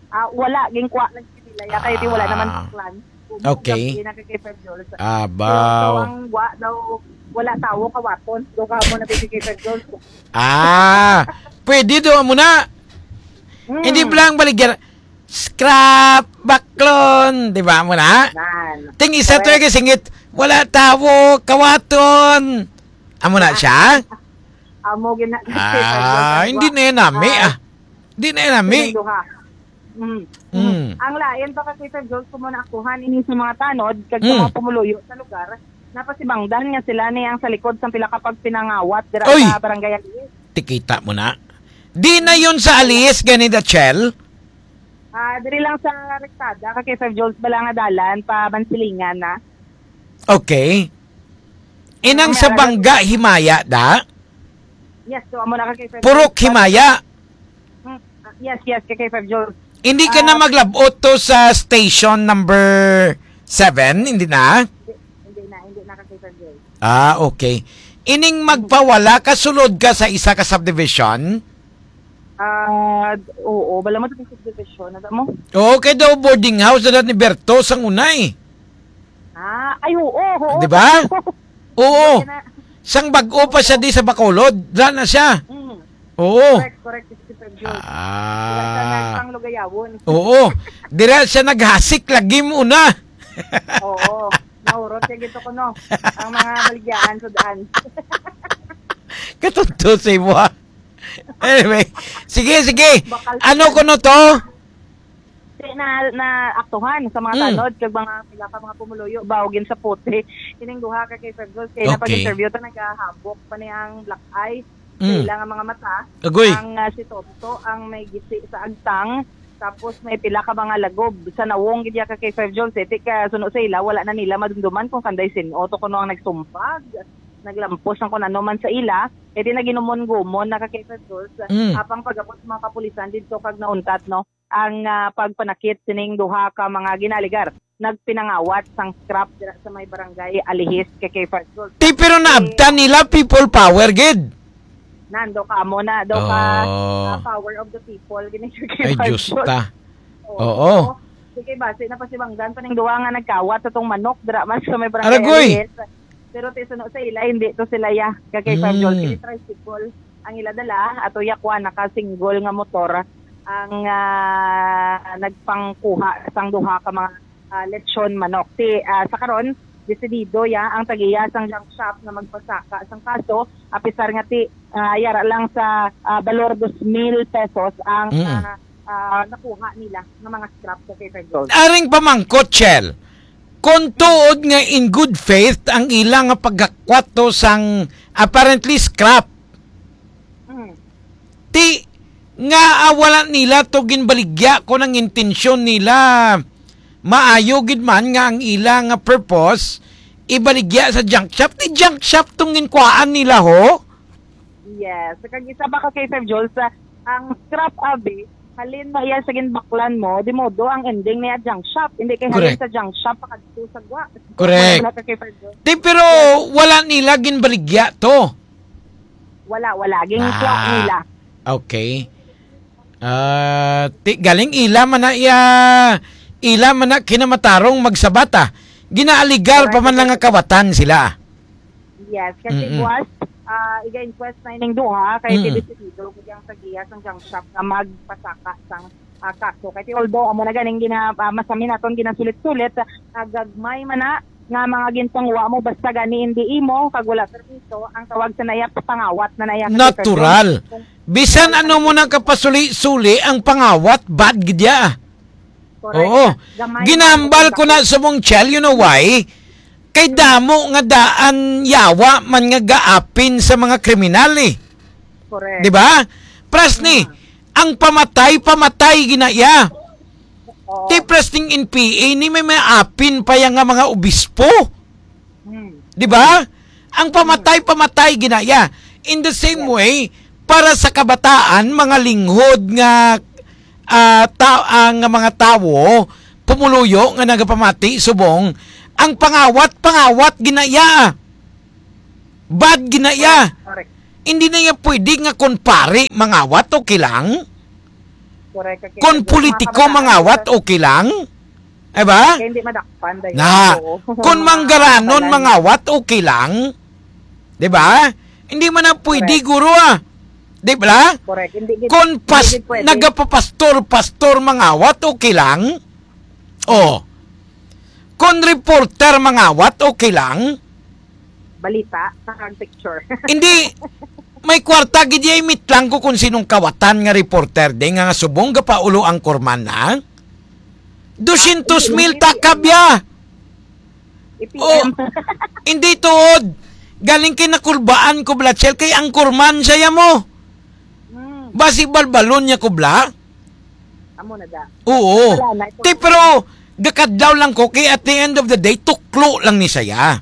Ah, wala, gingkuha lang sila. Ya, kay di wala naman Ah. plan. Kung Okay. gabi na kay Kay Ferjol sa Abaw. So, so, ang gwa daw, wala tawo kawaton. So, kamo na kay Kay Ferjol. Ah, pwede daw mo na. Hmm. Hindi ba lang baligyan? Scrap, baklon, di ba mo na? Nan. Ting isa to Correct. Yung singit, wala tawo, kawaton. Amo na siya? Amo gina-, Ah, hindi na yan nami, ah. Hindi na yan nami. Sining duha. Mm. Mm. Ang lain pa kasi sa Diyos, kung mo naakuhan ini sa mga tanod, kag sa Mm. mga pumuluyo sa lugar, napasibangdan nga sila ni ang sa likod sa pila ka pagpinangawat dira Oy! sa Barangay Aliis. Tikita mo na. Di na yun sa Aliis, gani, Dachel? Ah, diri lang sa Rektada, ka K five Joules, bala nga dalan, pa Mansilingan na. Okay. Inang May sa araw- bangga, himaya, da? Yes, so, amo na ka K five Purok Joules. Himaya. Hmm, yes, yes, ka K five Joules. Hindi ka na Ah. maglabot to sa station number seven, hindi na? Hindi, hindi na, hindi na ka K five Joules. Ah, okay. Ining magpawala ka, sulod ka sa isa ka subdivision? Ah, oo, bala mo sa subdivision, ano mo? Oo, kay daw boarding house na ni Berto sa unay. Ah, ay, oo, oo. Di ba? Oo. Yan na. Sang bag-o pa siya di sa Bacolod, dra na siya. Mm. Oo. Correct, correct, Mister Jones. Ah. Wala siya nagpanglugayawon. Oo. Dira siya naghasik lagi mo na. Oo. Naurot siya gito ko, no? Ang mga baligyaan sa daan. Katunto sa imo, ha? Anyway, sige, sige. Bakal Ano siya. ko no to? Di na, na aktuhan sa mga Mm. tanod kag mga pila ka mga pumuluyo ba o ginsapote. Kining duha ka K five Joules kay Okay. napag-interview ta nagahabok pa ni ang black eye sa Mm. ila nga mga mata. Agoy. Ang, ah, si Tonto ang may gisi sa agtang, tapos may pila ka mga lagob sa nawong gid ya ka K five Joules. Eh, ti ka suno sa ila, wala na nila madumduman kung kanday sin-o to kuno ang nagsumpag, naglampos ang kun ano man sa ila. Eh, di naginumon-gumon na ka K five Joules. Mm. Apang pag-abot sa mga kapulisan didto kag nauntat, no? ang, ah, pagpanakit sining duha ka mga ginaligar nagpinangawat sang scrap dira sa may barangay Alihis, K K Farsul. Ti, pero Eh, naabtan nila people power gid. Nando ka mo na daw ka, Oh. ah, power of the people gini, K K Ay, Diyos Farsul. ta. Oo. Oo. Sige, base na pasibangdan pa ning duha nga nagkawat sa tong manok dira man sa may barangay Aragoy. Alihis. Pero ti suno sa ila, hindi to sila ya. Kay kay Fab Joel, Mm. kini tricycle ang ila dala, ato ya kuha naka-single nga motor ang, ah, nagpangkuha sang duha ka mga, ah, lechon manok. Ti, ah, sa karon, desidido ya ang tagiya sang junk shop nga magpasaka sang kaso, apisar nga ti, ah, yara lang sa, ah, balor dos mil pesos ang, Mm. ah, ah, nakuha nila nga mga scrap sa Fairfield Road. Aring pamangkot, Chel, kung tuod nga in good faith ang ila nga pagkakwat to sang apparently scrap, Mm. ti nga, ah, wala nila to ginbaligya kung ang intensyon nila maayo gid man nga ang ila nga purpose ibaligya sa junk shop, ti junk shop tong ginkuhaan nila, ho? Yes. Kag isa pa ka kay Sir Joel, sa ang scrap abi, halin na iya sa ginbaklan mo, di modo ang ending niya junk shop. Hindi kay halin Correct. sa junk shop, pakadto sa gwa. Correct. Wala ka kay Sir Joel. Di, pero Yes. wala nila ginbaligya to. Wala, wala. Ginkuha Ah, nila. Okay. Ah, ti, galing ila man na iya, ila man na kinamatarong magsabata. Ginaaligar pa Correct. man lang nga kawatan sila. Yes, kasi Mm-mm. buwas, ah, iga-inquest na ining duha, kay Mm. desidido ko diyang sa giya sang junk shop nga magpasaka sang, ah, kaso. Kay although amo na ganing gina-, ah, masami naton ginasulit-sulit, ah, gagmay man na nga mga ginpangwa mo, basta gani hindi imo, kag wala permiso, ang tawag sa naya, pangawat na naya. Natural. Kung Bisan ano mo nang kapasuli-suli, ang pangawat, bad gid ya. Correct. Oo. Gamay Ginambal na ko na sa mong Chel, you know why? Kay damo nga daan yawa man nga gaapin sa mga kriminal, eh. Correct. Di ba? Pras ni, Mm. ang pamatay, pamatay ginaya. Oo. Ti pras ning N P A ni may maapin pa yang nga mga obispo. Mm. Di ba? Ang pamatay, pamatay ginaya. In the same Yes. way, para sa kabataan, mga linghod nga, ah, ta-, ah, nga mga tawo, pumuluyo nga nagapamati subong ang pangawat, pangawat ginaya. Bad ginaya. Correct. Hindi na niya pwede nga kon pari mangawat, okay lang. Correct. Kon politiko mangawat, okay lang. Diba? Kaya hindi madakpan, dahil Na, kon manggaranon mangawat, okay lang. Diba? Hindi man na pwede, guro, ah. Diba? Correct. Hindi gid, kon pas, hindi gid pwede. Nagapapastor, pastor mangawat, okay lang. Oh. Kon reporter mangawat, okay lang. Balita, sa picture. Hindi. May kwarta, gid, ya, imit lang ko kung sinong kawatan nga reporter, di nga, nga subong gapaulo ang kurman, ha? Dosyentos mil takab, ya. Oh, hindi tuod. Galing kay nakulbaan ko, Blatchel, kay ang kurman siya mo. Hmm. Basi balbalon niya ko, Bla? Amo na da. Oo. Wala na. Ti, pero gakadlaw lang ko kay at the end of the day, tuklo lang ni saya.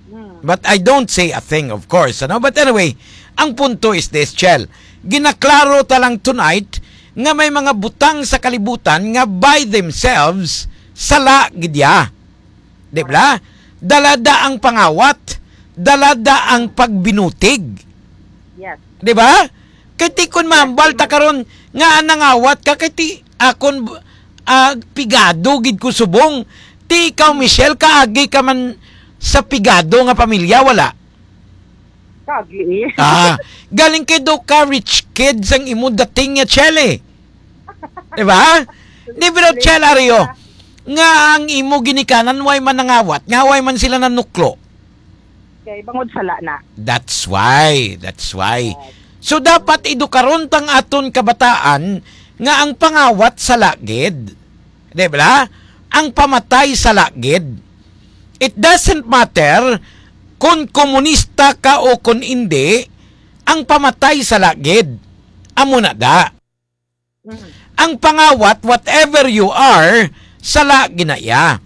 Hmm. But I don't say a thing, of course, ano? But anyway, ang punto is this, Chel. Ginaklaro ta lang tonight nga may mga butang sa kalibutan nga by themselves, sala gid ya. Di ba? Dalada ang pangawat, dalada ang pagbinutig. Yes. Di ba? Kay ti kon mahambal ta karon nga nangawat ka, kay ti akon, ah, pigado gid ko subong. Ti ikaw, Michelle, kaagi ka man sa pigado nga pamilya, wala? Kaagi. Ah, galing kay daw ka rich kid sang imo dating nga Chele. Di ba? Di, pero Chel, Ario, nga ang imo ginikanan, way man nangawat, nga way man sila nanuklo. Kay bangod sala na. That's why. That's why. Yes. So, dapat edukaron tang aton kabataan nga ang pangawat sala gid. Di ba? Ang pamatay sala gid. It doesn't matter kung komunista ka o kung hindi, ang pamatay sala gid. Amo na da. Mm. Ang pangawat, whatever you are, sala ginaya.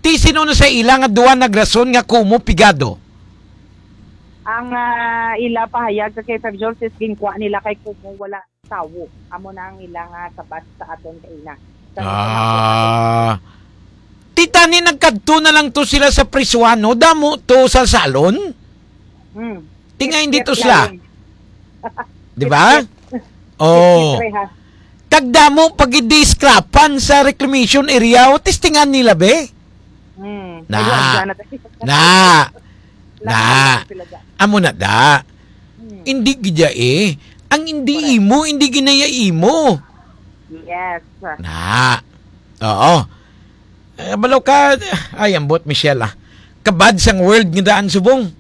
Ti sino na sa ila nga duwa nagrason nga kumo pigado? Ang, ah, ila pahayag sa K five Jones is ginkuha nila kay kumo wala tawo. Amo na ang ila nga sabat sa aton kaina. Sa Ah. Ti tani nagkadto na lang to sila sa prisuan, no? Damo to sa salon. Hmm. Tinga hindi to sila. Lain. Di ba? It's, it's, Oh. It's reha. Kag damo pag-discrapan sa reclamation area, o testingan nila, be? Hmm. Na. Ay, wag na. Na. Na. Lahat sila dyan. Amo na da. Hmm. Hindi gid ya eh. Ang hindi Correct. Imo, hindi ginaya imo. Yes. Na. Oo. Eh, balo ka, ay, ambot, Michelle, ah. Kabad sang world nga daan subong.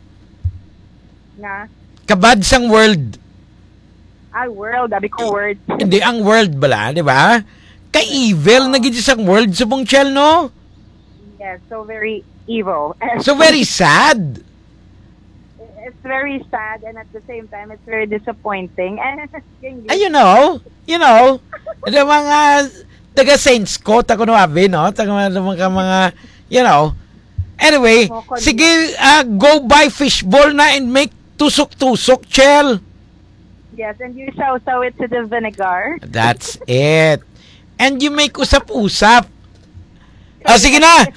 Nga? Kabad sang world. Ay, world. Abi ko world. Hindi, ang world bala, di ba? Ka-evil na gid sang world subong, Chel, no? Yes, so very evil. So very sad. It's very sad and at the same time, it's very disappointing. And Ay, you know, you know, the mga taga Saints ko, ta kuno abi, no? Taga mga, mga, mga, you know. Anyway, Moko sige, ah, go buy fishball na and make tusok-tusok, Chel. Yes, and you sausaw it to the vinegar. That's it. And you make usap-usap. Ah, sige na.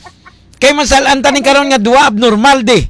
Kay masalan ta ni karon nga duwa abnormal di.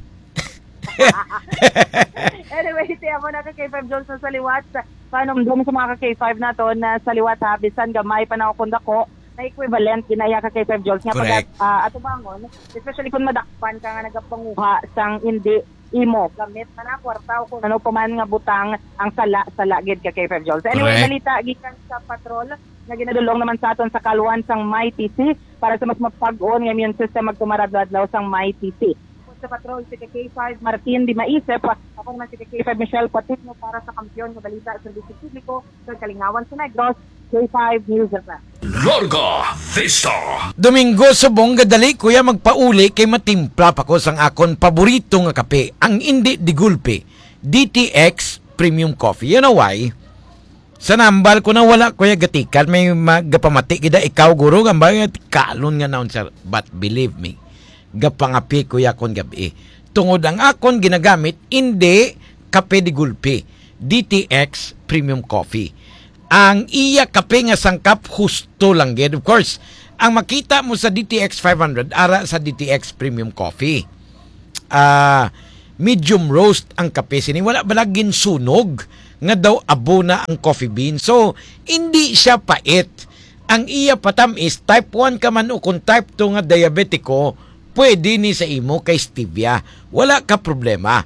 Anyway, ti amo na ka K five Jones na sa liwat. Panumdum sa mga ka K five nato na sa liwat ha, bisan gamay pa na o kung dako, na equivalent ginaya ka K five Jones nga Correct. Pag, ah, atubangon, especially kung madakpan ka nga nagapanguha sang hindi imo gamit man na kwarta o kung ano pa man nga butang ang sala sa lagid ka K five Jones. Anyway, Correct. Balita gikan sa patrol nga ginadulong naman sa aton sa kalwan sang Mighty C para sa mas mapag-on nga immune system magtumarad adlaw sang Mighty C. Sa patrol si K five Martin Di Maisip, ako naman si K five Michelle Patino para sa Kampiyon nga Balita, Serbisyo Publiko, sa Kalingawan sa Negros, K five News F M. Larga Vista. Domingo, subong gadali, kuya, magpauli kay matimpla pa ko sang akon paborito nga kape, ang Indi de Gulpe, D T X Premium Coffee. You know why? Sa nambal ko na wala, kuya, gatikan may magapamati gida ikaw, guro, gambay, kalon nga naon, sir. But believe me, gapangapi, kuya, kon gabi. Tungod ang akon ginagamit, hindi kape de gulpe, D T X Premium Coffee. Ang iya kape nga sangkap, husto lang gid. Of course, Ang makita mo sa D T X five hundred, ara sa D T X Premium Coffee. Ah, medium roast ang kape sini. Wala bala ginsunog nga daw abo na ang coffee bean. So, hindi siya pait. Ang iya patamis, type one ka man o kung type two nga diabetiko, pwede ni sa imo kay stevia. Wala ka problema.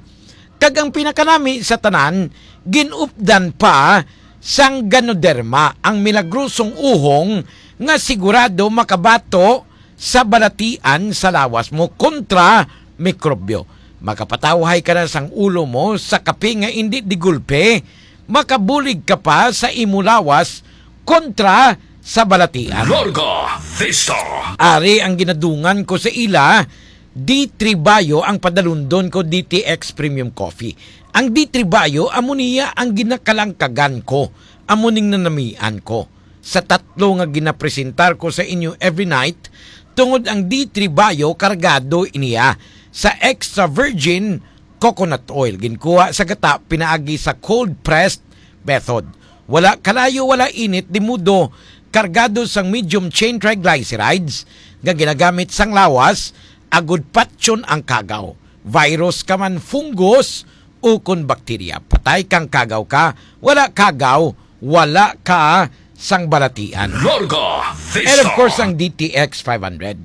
Kag ang pinakanami sa tanan, ginupdan pa sang Ganoderma, ang milagrosong uhong nga sigurado makabato sa balatian sa lawas mo kontra mikrobyo. Makapatawhay ka na sang ulo mo sa kape nga indi di gulpe, makabulig ka pa sa imo lawas kontra sa balatian. Larga Vista. Ari ang ginadungan ko sa ila, D three Bio ang padalundon ko, D T X Premium Coffee. Ang D three Bio, amo niya ang ginakalangkagan ko, amo ning nanamian ko. Sa tatlo nga ginapresentar ko sa inyo every night, tungod ang D three Bio kargado iniya sa extra virgin coconut oil, ginkuha sa gata pinaagi sa cold pressed method. Wala kalayo, wala init, di mudo, kargado sang medium chain triglycerides nga ginagamit sang lawas, agud patyon ang kagaw. Virus ka man, fungus, ukon bakterya. Patay kang kagaw ka, wala kagaw, wala ka sang balatian. Larga Vista. And of course, ang D T X five hundred.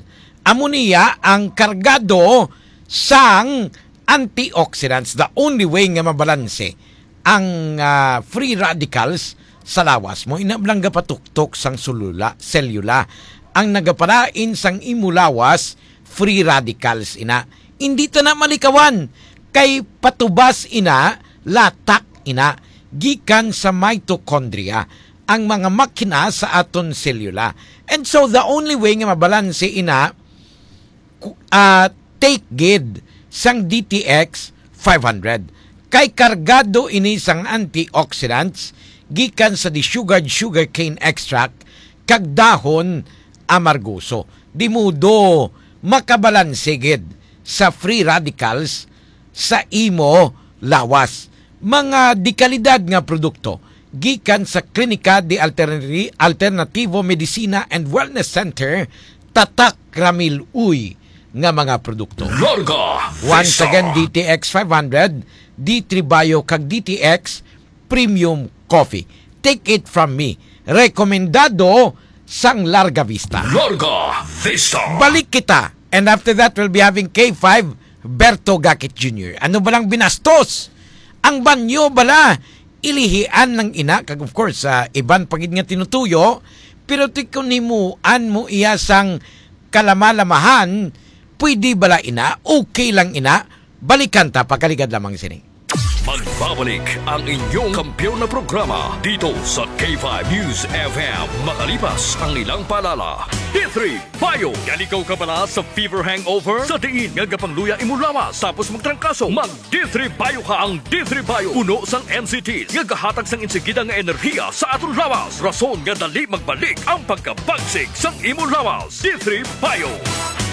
Amo niya ang kargado sang antioxidants. The only way nga mabalanse ang, ah, free radicals sa lawas mo, ina lang gapatuktok sang sulula, selula. Ang nagapalain sang imo lawas, free radicals ina. Hindi ta na malikawan kay patubas ina, latak ina, gikan sa mitochondria, ang mga makina sa aton selula. And so the only way nga mabalanse ina, ku-, ah, take gid sang D T X five hundred. Kay kargado ini sang antioxidants gikan sa desugared sugarcane extract kag dahon amargoso. Di mudo makabalanse gid sa free radicals sa imo lawas. Mga dekalidad nga produkto gikan sa Klinika de Alternati-, Alternativo Medicina and Wellness Center, tatak Ramil Uy nga mga produkto. Larga Once Vista. Again, D T X five hundred, D three Bio kag D T X Premium Coffee. Take it from me. Rekomendado sang Larga Vista. Larga Vista. Balik kita. And after that, we'll be having K five, Berto Gakit Junior. Ano ba lang binastos? Ang banyo bala, ilihian ng ina, kag of course, ah, iban pa gid nga tinutuyo, pero ti kun himuan mo iya sang kalama-lamahan, pwede bala ina? Okay lang ina? Balikan ta, pagkaligad lamang sini. Magbabalik ang inyong kampiyon na programa dito sa K five News F M, makalipas ang ilang paalala. D three Bio. Naligaw ka bala sa fever hangover? Sa diin nga gapangluya imo lawas tapos magtrangkaso? Mag D three Bio ka. Ang D three Bio puno sang N C Ts nga gahatag sang insigida nga enerhiya sa aton lawas, rason nga dali magbalik ang pagkabagsik sang imo lawas. D three Bio.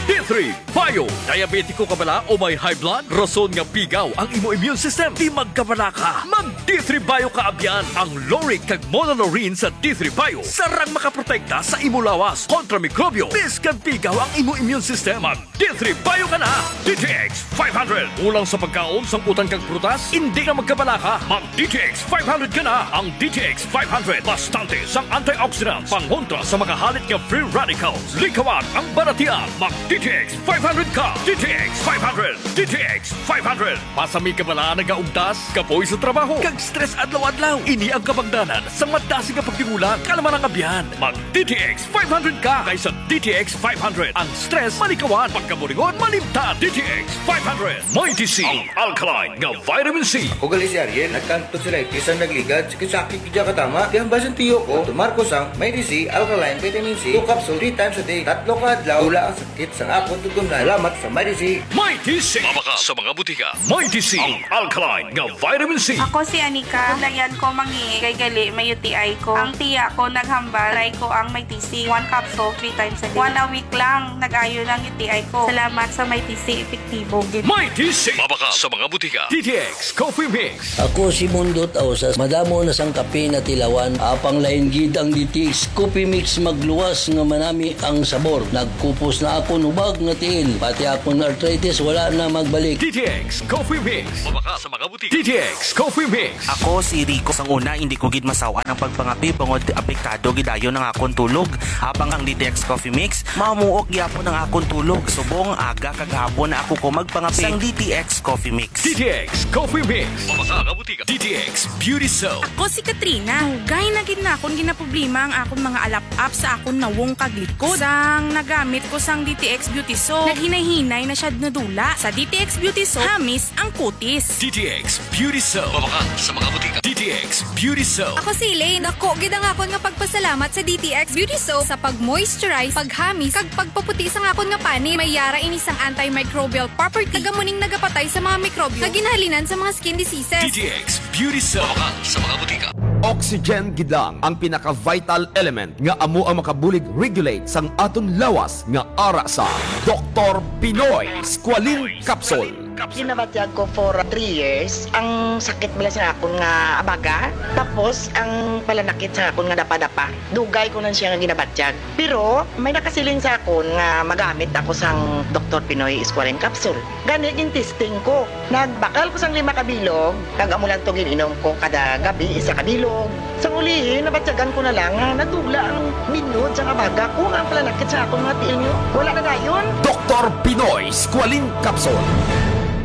D three Bio. Diabetiko ka bala o may high blood? Rason nga pigaw ang imo immune system. Di magkabalaka. Mag D three Bio ka, abyan. Ang lauric kag monolaurin sa D three Bio sarang makaprotekta sa imo lawas kontra mikrobyo. Biskag pigaw ang imo immune system, mag D three Bio ka na. D T X five hundred. Kulang sa pagkaon, sang utan kag prutas? Hindi na magkabalaka. Mag D T X five hundred ka na. Ang D T X five hundred, bastante sang antioxidants, pangontra sa mga halit nga free radicals. Likawan ang balatian. Mag D T X five hundred ka. D T X five hundred. D T X five hundred. Masami ka bala nagaugtas, kapoy sa trabaho, kag stress adlaw-adlaw? Ini ang kabangdanan sang madasig nga pagtingulang. Kalma lang, abyan. Mag D T X five hundred ka, kay sa D T X five hundred, ang stress malikawan, pagkaburingon malimtan. D T X five hundred. May D C, ang alkaline nga vitamin C. Ako gali si Ariel, nagkanto sila, bisan nagligad, sakit-sakit gid ka tama. Kaya ang basin tiyo ko, Doctor Marcos ang May D C alkaline vitamin C, two capsule, three times a day. Tatlo ka adlaw, wala ang sakit sa Ang akon tugon nga salamat sa Mighty C. Mighty C. Mabakal sa mga butika. Mighty C, ang alkaline nga vitamin C. Ako si Anika. Dayan ko mangi kay gali may U T I ko. Ang tiya ko naghambal, try ko ang Mighty C. One capsule, three times a day. One a week lang, nag-ayo ng U T I ko. Salamat sa Mighty C, epektibo gid. Mighty C. Mabakal sa mga butika. D T X Coffee Mix. Ako si Mundot Ausas. Madamo na sang kape na tilawan. Apang lain gid ang D T X Coffee Mix, magluwas nga manami ang sabor. Nagkupos na akon hubag nga tiil. Pati akon arthritis wala na magbalik. D T X Coffee Mix. Mabakal sa mga butika. D T X Coffee Mix. Ako si Rico. Sang una, hindi ko gid masawan ang pagpangape bangod apektado gid ayo ang akon tulog. Habang ang D T X Coffee Mix, mamuok gyapon ang akon tulog. Subong aga kag hapon na ako ko magpangape. Sang D T X Coffee Mix. D T X Coffee Mix. Mabakal sa mga butika. D T X Beauty Soap. Ako si Katrina. Dugay na gid na akon ginaproblema ang akon mga alap-ap sa akon nawong kag likod. Sang nagamit ko sang D T X Beauty Soap, naghinay-hinay na siya nadula. Sa D T X Beauty Soap, hamis ang kutis. D T X Beauty Soap. Mabakal sa mga butika. D T X Beauty Soap. Ako si Elaine. Dako gid ang akon nga pagpasalamat sa D T X Beauty Soap sa pag-moisturize, paghamis, kag pagpaputi sang akon nga panit. May yara ini sang antimicrobial property. Taga muning nagapatay sa mga mikrobyo nga ginahalinan sa mga skin diseases. D T X Beauty Soap. Mabakal sa mga butika. Oxygen gid lang ang pinaka-vital element nga amo ang makabulig regulate sang aton lawas nga ara sa Doktor Pinoy Squalene Capsule. Ginabatyag ko for three years ang sakit bala sa akon nga abaga, tapos ang palanakit sa akon nga dapa-dapa. Dugay ko lang siya nga ginabatyag. Pero may nakasiling sa akon nga magamit ako sang Doktor Pinoy Squalene Capsule. Gani, gin-testing ko. Nagbakal ko sang lima ka bilog, kag amo lang to gin-inom ko kada gabi, isa ka bilog. Sang ulihi, nabatyagan ko na lang nga nadula ang minod sang abaga ko, nga ang palanakit sa akon mga tiil niyo wala na dayon. Doktor Pinoy Squalene Capsule.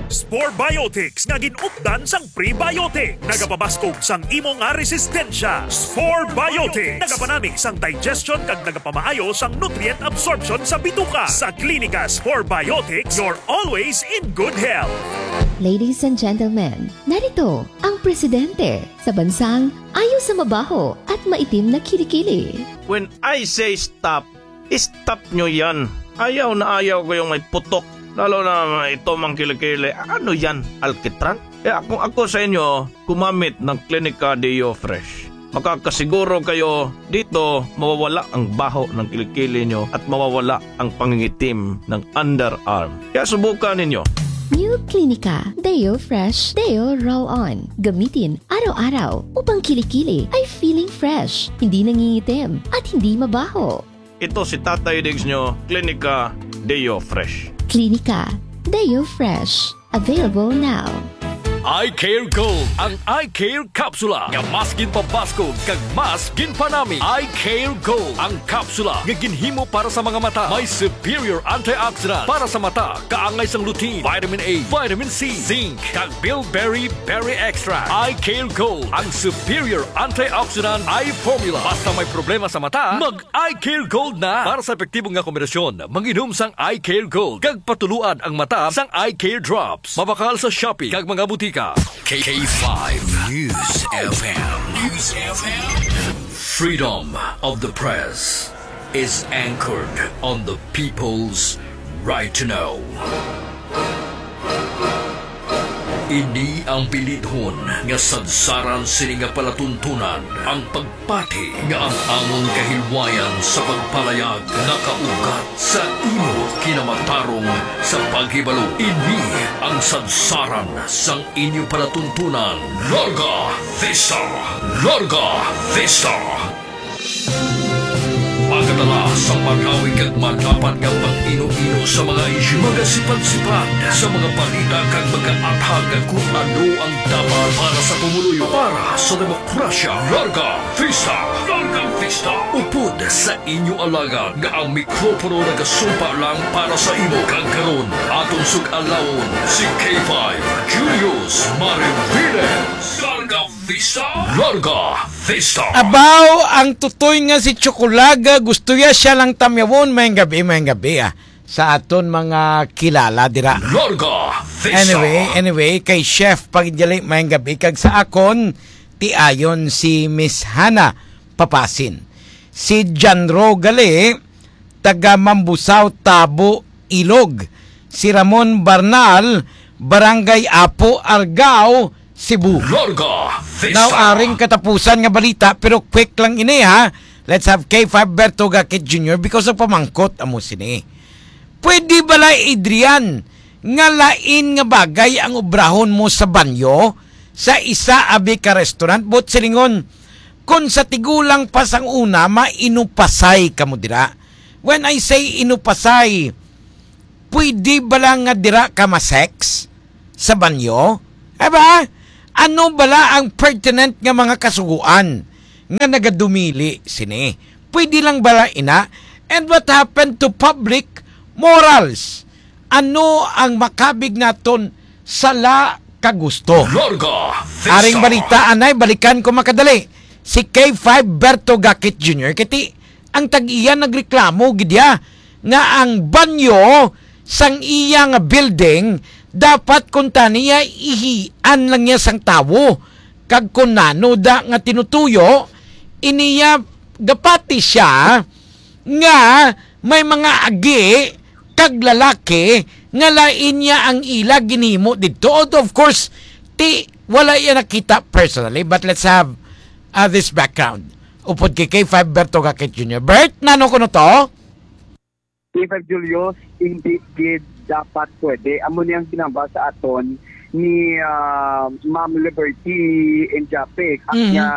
Spore Biotics nga gin-updan sang prebiotic. Nagapabaskog sang imo nga resistensya. Spore Biotics. Nagapanami sang digestion kag nagapamaayo sang nutrient absorption sa bituka. Sa Klinika Spore Biotics, you're always in good health. Ladies and gentlemen, narito ang presidente sa bansang ayo sa mabaho at maitim na kilikili. When I say stop, stop nyo yan. Ayaw na ayaw ko yung may putok. Lalo na ito mang kilikili. Ano yan? Alkitran? Eh, kung ako sa inyo, gumamit ng Klinika Deo Fresh. Makakasiguro kayo dito mawawala ang baho ng kilikili nyo at mawawala ang pangingitim ng underarm. Kaya subukan ninyo. New Klinika Deo Fresh Deo Roll On. Gamitin araw-araw upang kilikili ay feeling fresh, hindi nangingitim, at hindi mabaho. Ito si Tatay Diggs nyo, Klinika Deo Fresh. Klinika Deo Fresh. Available now. Eye Care Gold, ang Eye Care Capsula nga mas ginpabaskog kag mas ginpanami. Eye Care Gold, ang kapsula nga ginhimo para sa mga mata. May superior antioxidant para sa mata, kaangay sang lutein, vitamin A, vitamin C, zinc, kag bilberry berry extract. Eye Care Gold, ang superior antioxidant eye formula. Basta may problema sa mata, mag Eye Care Gold na. Para sa epektibo nga kombinasyon, manginom sang Eye Care Gold kag patuluan ang mata sang Eye Care Drops. Mabakal sa Shopee kag mga butika. K five News F M. News F M. Freedom of the press is anchored on the people's right to know. Ini ang bilidhon nga sadsaran sini nga palatuntunan, ang pagpati nga ang amon kahilwayan sa pagpalayag nakaugat sa imo kinamatarong sa paghibalo. Ini ang sadsaran sang inyo palatuntunan. Larga Vista! Larga Vista! Magadala sa marawi kag madapat nga pag-ino-ino sa mga isyu, magasipad-sipad sa mga balita kag magaathag kung ano ang dapat para sa pumuluyo, para sa demokrasya. Larga Vista! Larga Vista! Upod sa inyo alagad nga ang mikropono nagasumpa lang para sa imo, kag karon aton sug-alawon si K five Julius Mariviles. Larga Vista! Larga Vista! Abaw, ang tutoy nga si Chocolaga, gusto ya siya lang tamyawon. Mayang gabi, mayang gabi, ah, sa aton mga kilala dira. Larga Vista! Anyway, anyway, kay Chef Pagdali, mayang gabi, kag sa akon, tiayon si Miss Hana Papasin. Si John Ro gali, taga Mambusao, Tabo, Ilog. Si Ramon Barnal, Barangay Apo, Argao, Cebu. Larga Vista. Now, aring katapusan nga balita, pero quick lang ini, ha. Let's have K five Berto Gakit Junior because of pamangkot amo sini. Pwede bala, Adrian, nga lain nga bagay ang obrahon mo sa banyo sa isa abi ka restaurant? But silingon, kung sa tigulang pa sang una, mainupasay kamo dira. When I say inupasay, pwede bala nga dira ka ma-sex sa banyo? Aba, ano bala ang pertinent nga mga kasugoan nga nagadumili sini? Pwede lang bala ina? And what happened to public morals? Ano ang makabig naton sala ka gusto? Larga Vista. Aring balita, anay, balikan ko makadali. Si K five Berto Gakit Junior, kay ti ang tag-iya nagreklamo gid ya nga ang banyo sang iya nga building dapat kuntani ya ihian lang niya sang tawo, kag kun nano da nga tinutuyo, iniya gapati siya nga may mga agi kag lalaki nga lain niya ang ila ginhimo didto. Although, of course, ti wala iya nakita personally, but let's have, uh, this background. Upod kay K five Berto Gakit Junior. Bert, nano kuno to? K five Julius, hindi gid dapat pwede. Amo ni ang ginhambal sa aton ni, ah, Ma'am Liberty Injapic, Mhm. nga,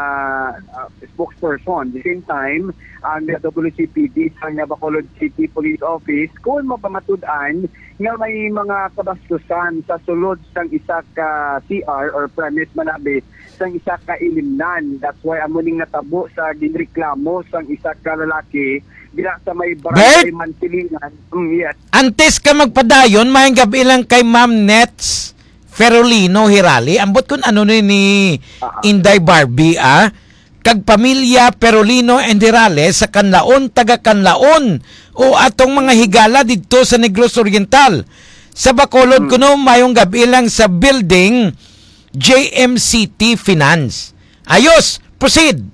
ah, spokesperson. The same time, ang W C P D sa nga Bacolod City Police Office, kung mapamatud-an nga may mga kabastusan sa sulod sang isa ka C R or premise manabi sang isa ka ilimnan. That's why amo ning natabo sa ginreklamo sang isa ka lalaki dira sa may Barangay Bert! Mansilingan. Mm, yes. Antes ka magpadayon, maayong gabi lang kay Ma'am Nets Ferolino Hirali. Ambot kun ano ni, ni Ah, ah. Inday Barbie, ah. Kag pamilya Ferolino and Hirale sa Canlaon, taga Canlaon, o atong mga higala didto sa Negros Oriental. Sa Bacolod Hmm. kuno, maayong gabi lang sa building J M C T Finance. Ayos, proceed.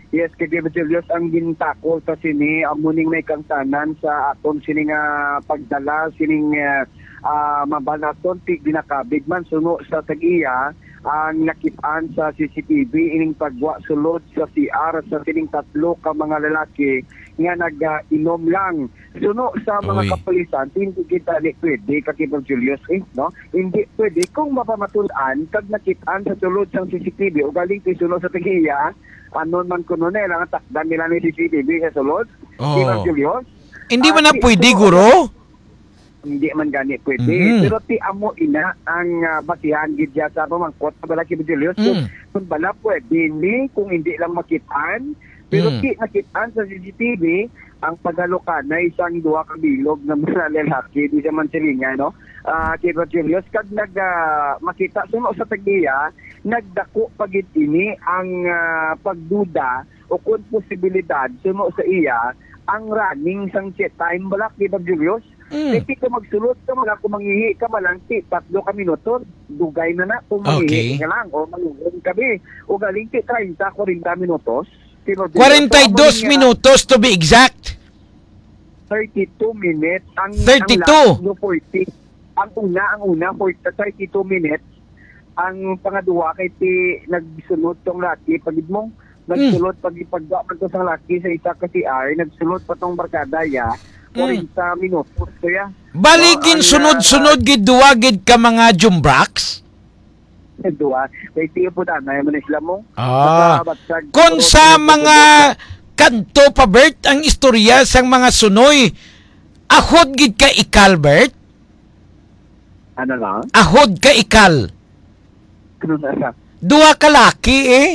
Yes, kay David Julius, ang gintakol sa sini, amo ning may kangtanan sa aton sini nga pagdala, sining, ah, ah, mabalaton, ti ginakabig man suno sa tag-iya ang nakit-an sa C C T V, ining pagwa sulod sa C R sa sining tatlo ka mga lalaki nga nag-inom lang. Suno sa mga Uy. kapulisan, hindi kita ni pwede, Kakibang Julius, eh, no? Hindi pwede kung mapamatud-an kag nakit-an sa sulod sang C C T V, o galing ti suno sa tag-iya, anon man kuno na, ilang takdan nila ni C C T V sa sulod, Oo. Kakibang Julius. Hindi Ah, man na ti-, pwede, suno, guro? Hindi man gani pwede. Mhm. Pero ti amo ina ang, ah, basihan gid siya sa pamangkot sa bala, Kakibang Julius. Kung, Mm. kung bala pwede ni, kung hindi lang makit-an, pero Mm. ti nakit-an sa C C T V, ang paghalukanay sang duha ka bilog nga mga lalaki, di sa Mansilingan, no? Ah, kay Rogelio, kag nag, ah, makita suno sa tag-iya, nagdako pa gid ini ang, ah, pagduda o kon posibilidad suno sa iya ang running sang check time bala, kay Rogelio. Mm. Kay di ka magsulod ka, wala ko mangihi ka, malang ti tatlo ka minuto, dugay na na kung mangihi Okay. ka lang o mangihi ka bi. O galing ti treinta, kwarenta minutos. Kay Rogelio, Kwarenta y dos so, amo niya, minutos to be exact. Thirty-two minutes. Ang, Thirty-two. Ang last, no, forty. Ang una, ang una, for thirty-two minutes. Ang pangaduwa kay ti nagsulod tong laki, pagid mo, Hmm. nagsulod, pag, pagwa man to sang laki sa isa ka C R, nagsulod pa tong barkada, ya, Hmm. kwarenta minutos to, ya. Bali, So, ang, ginsunod-sunod ah, gid duwa gid ka mga jumbraks? Duwa. Kay tiyo po, tanay mo na sila mo. Ah. Basta, basta, Kung siguro, sa siguro, mga siguro, kanto pa, Bert, ang istorya sang mga sunoy, ahod gid ka ikal, Bert? Ano lang? Ahod ka ikal. Ano na lang? Duha ka laki, eh.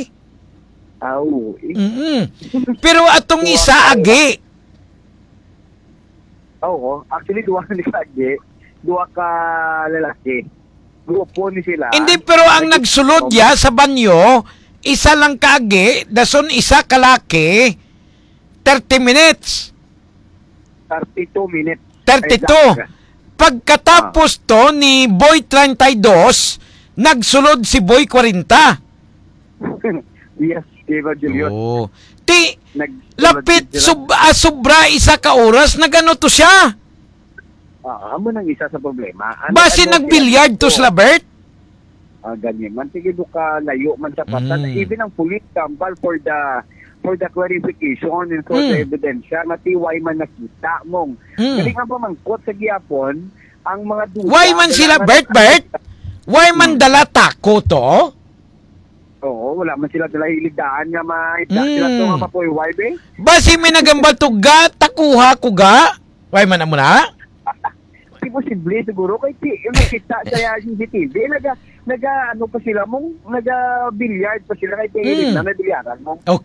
Ah, oo, eh. Mm-mm. Pero atong Duha isa ka agi. Oo, actually, duha ni agi. Duha ka lalaki. Grupo ni sila. Hindi, pero ang Nag- nagsulod ya sa banyo, isa lang ka agi, dason isa ka laki, thirty minutes. Thirty-two minutes. Thirty-two. Exact. Pagkatapos Ah. to ni Boy treinta y dos, nagsulod si Boy kwarenta. Yes, Evangelio. Oo. Ti, Nag- lapit nag- sub-, ah, sobra isa ka oras, nagano to siya? Ah, amo nang isa sa problema. Ano, Basi ano, nagbilyard to ano, sila, Bert? Ah, ganyan man. Sige, do ka layo man sa pasan. Mm. Even ang police tambal for the for the clarification and for the Mm. evidence nga ti why man nakita mong. Mm. Galing ang pamangkot sa gihapon, ang mga duda. Why man sila, kailangan Bert, Bert? Why man Hmm. dala tako to? Oo, wala man sila dala hiligdaan nga ma-, sila Mm. to nga mapuyway, be. Basi may nagambal to ga, takuha ko ga. Why man amo na? Imposible siguro kay ti, yung nakita sa C C T V, naga, naga, ano pa sila mong, naga billiard pa sila kay ti, Mm. na nabilyaran mo. Okay.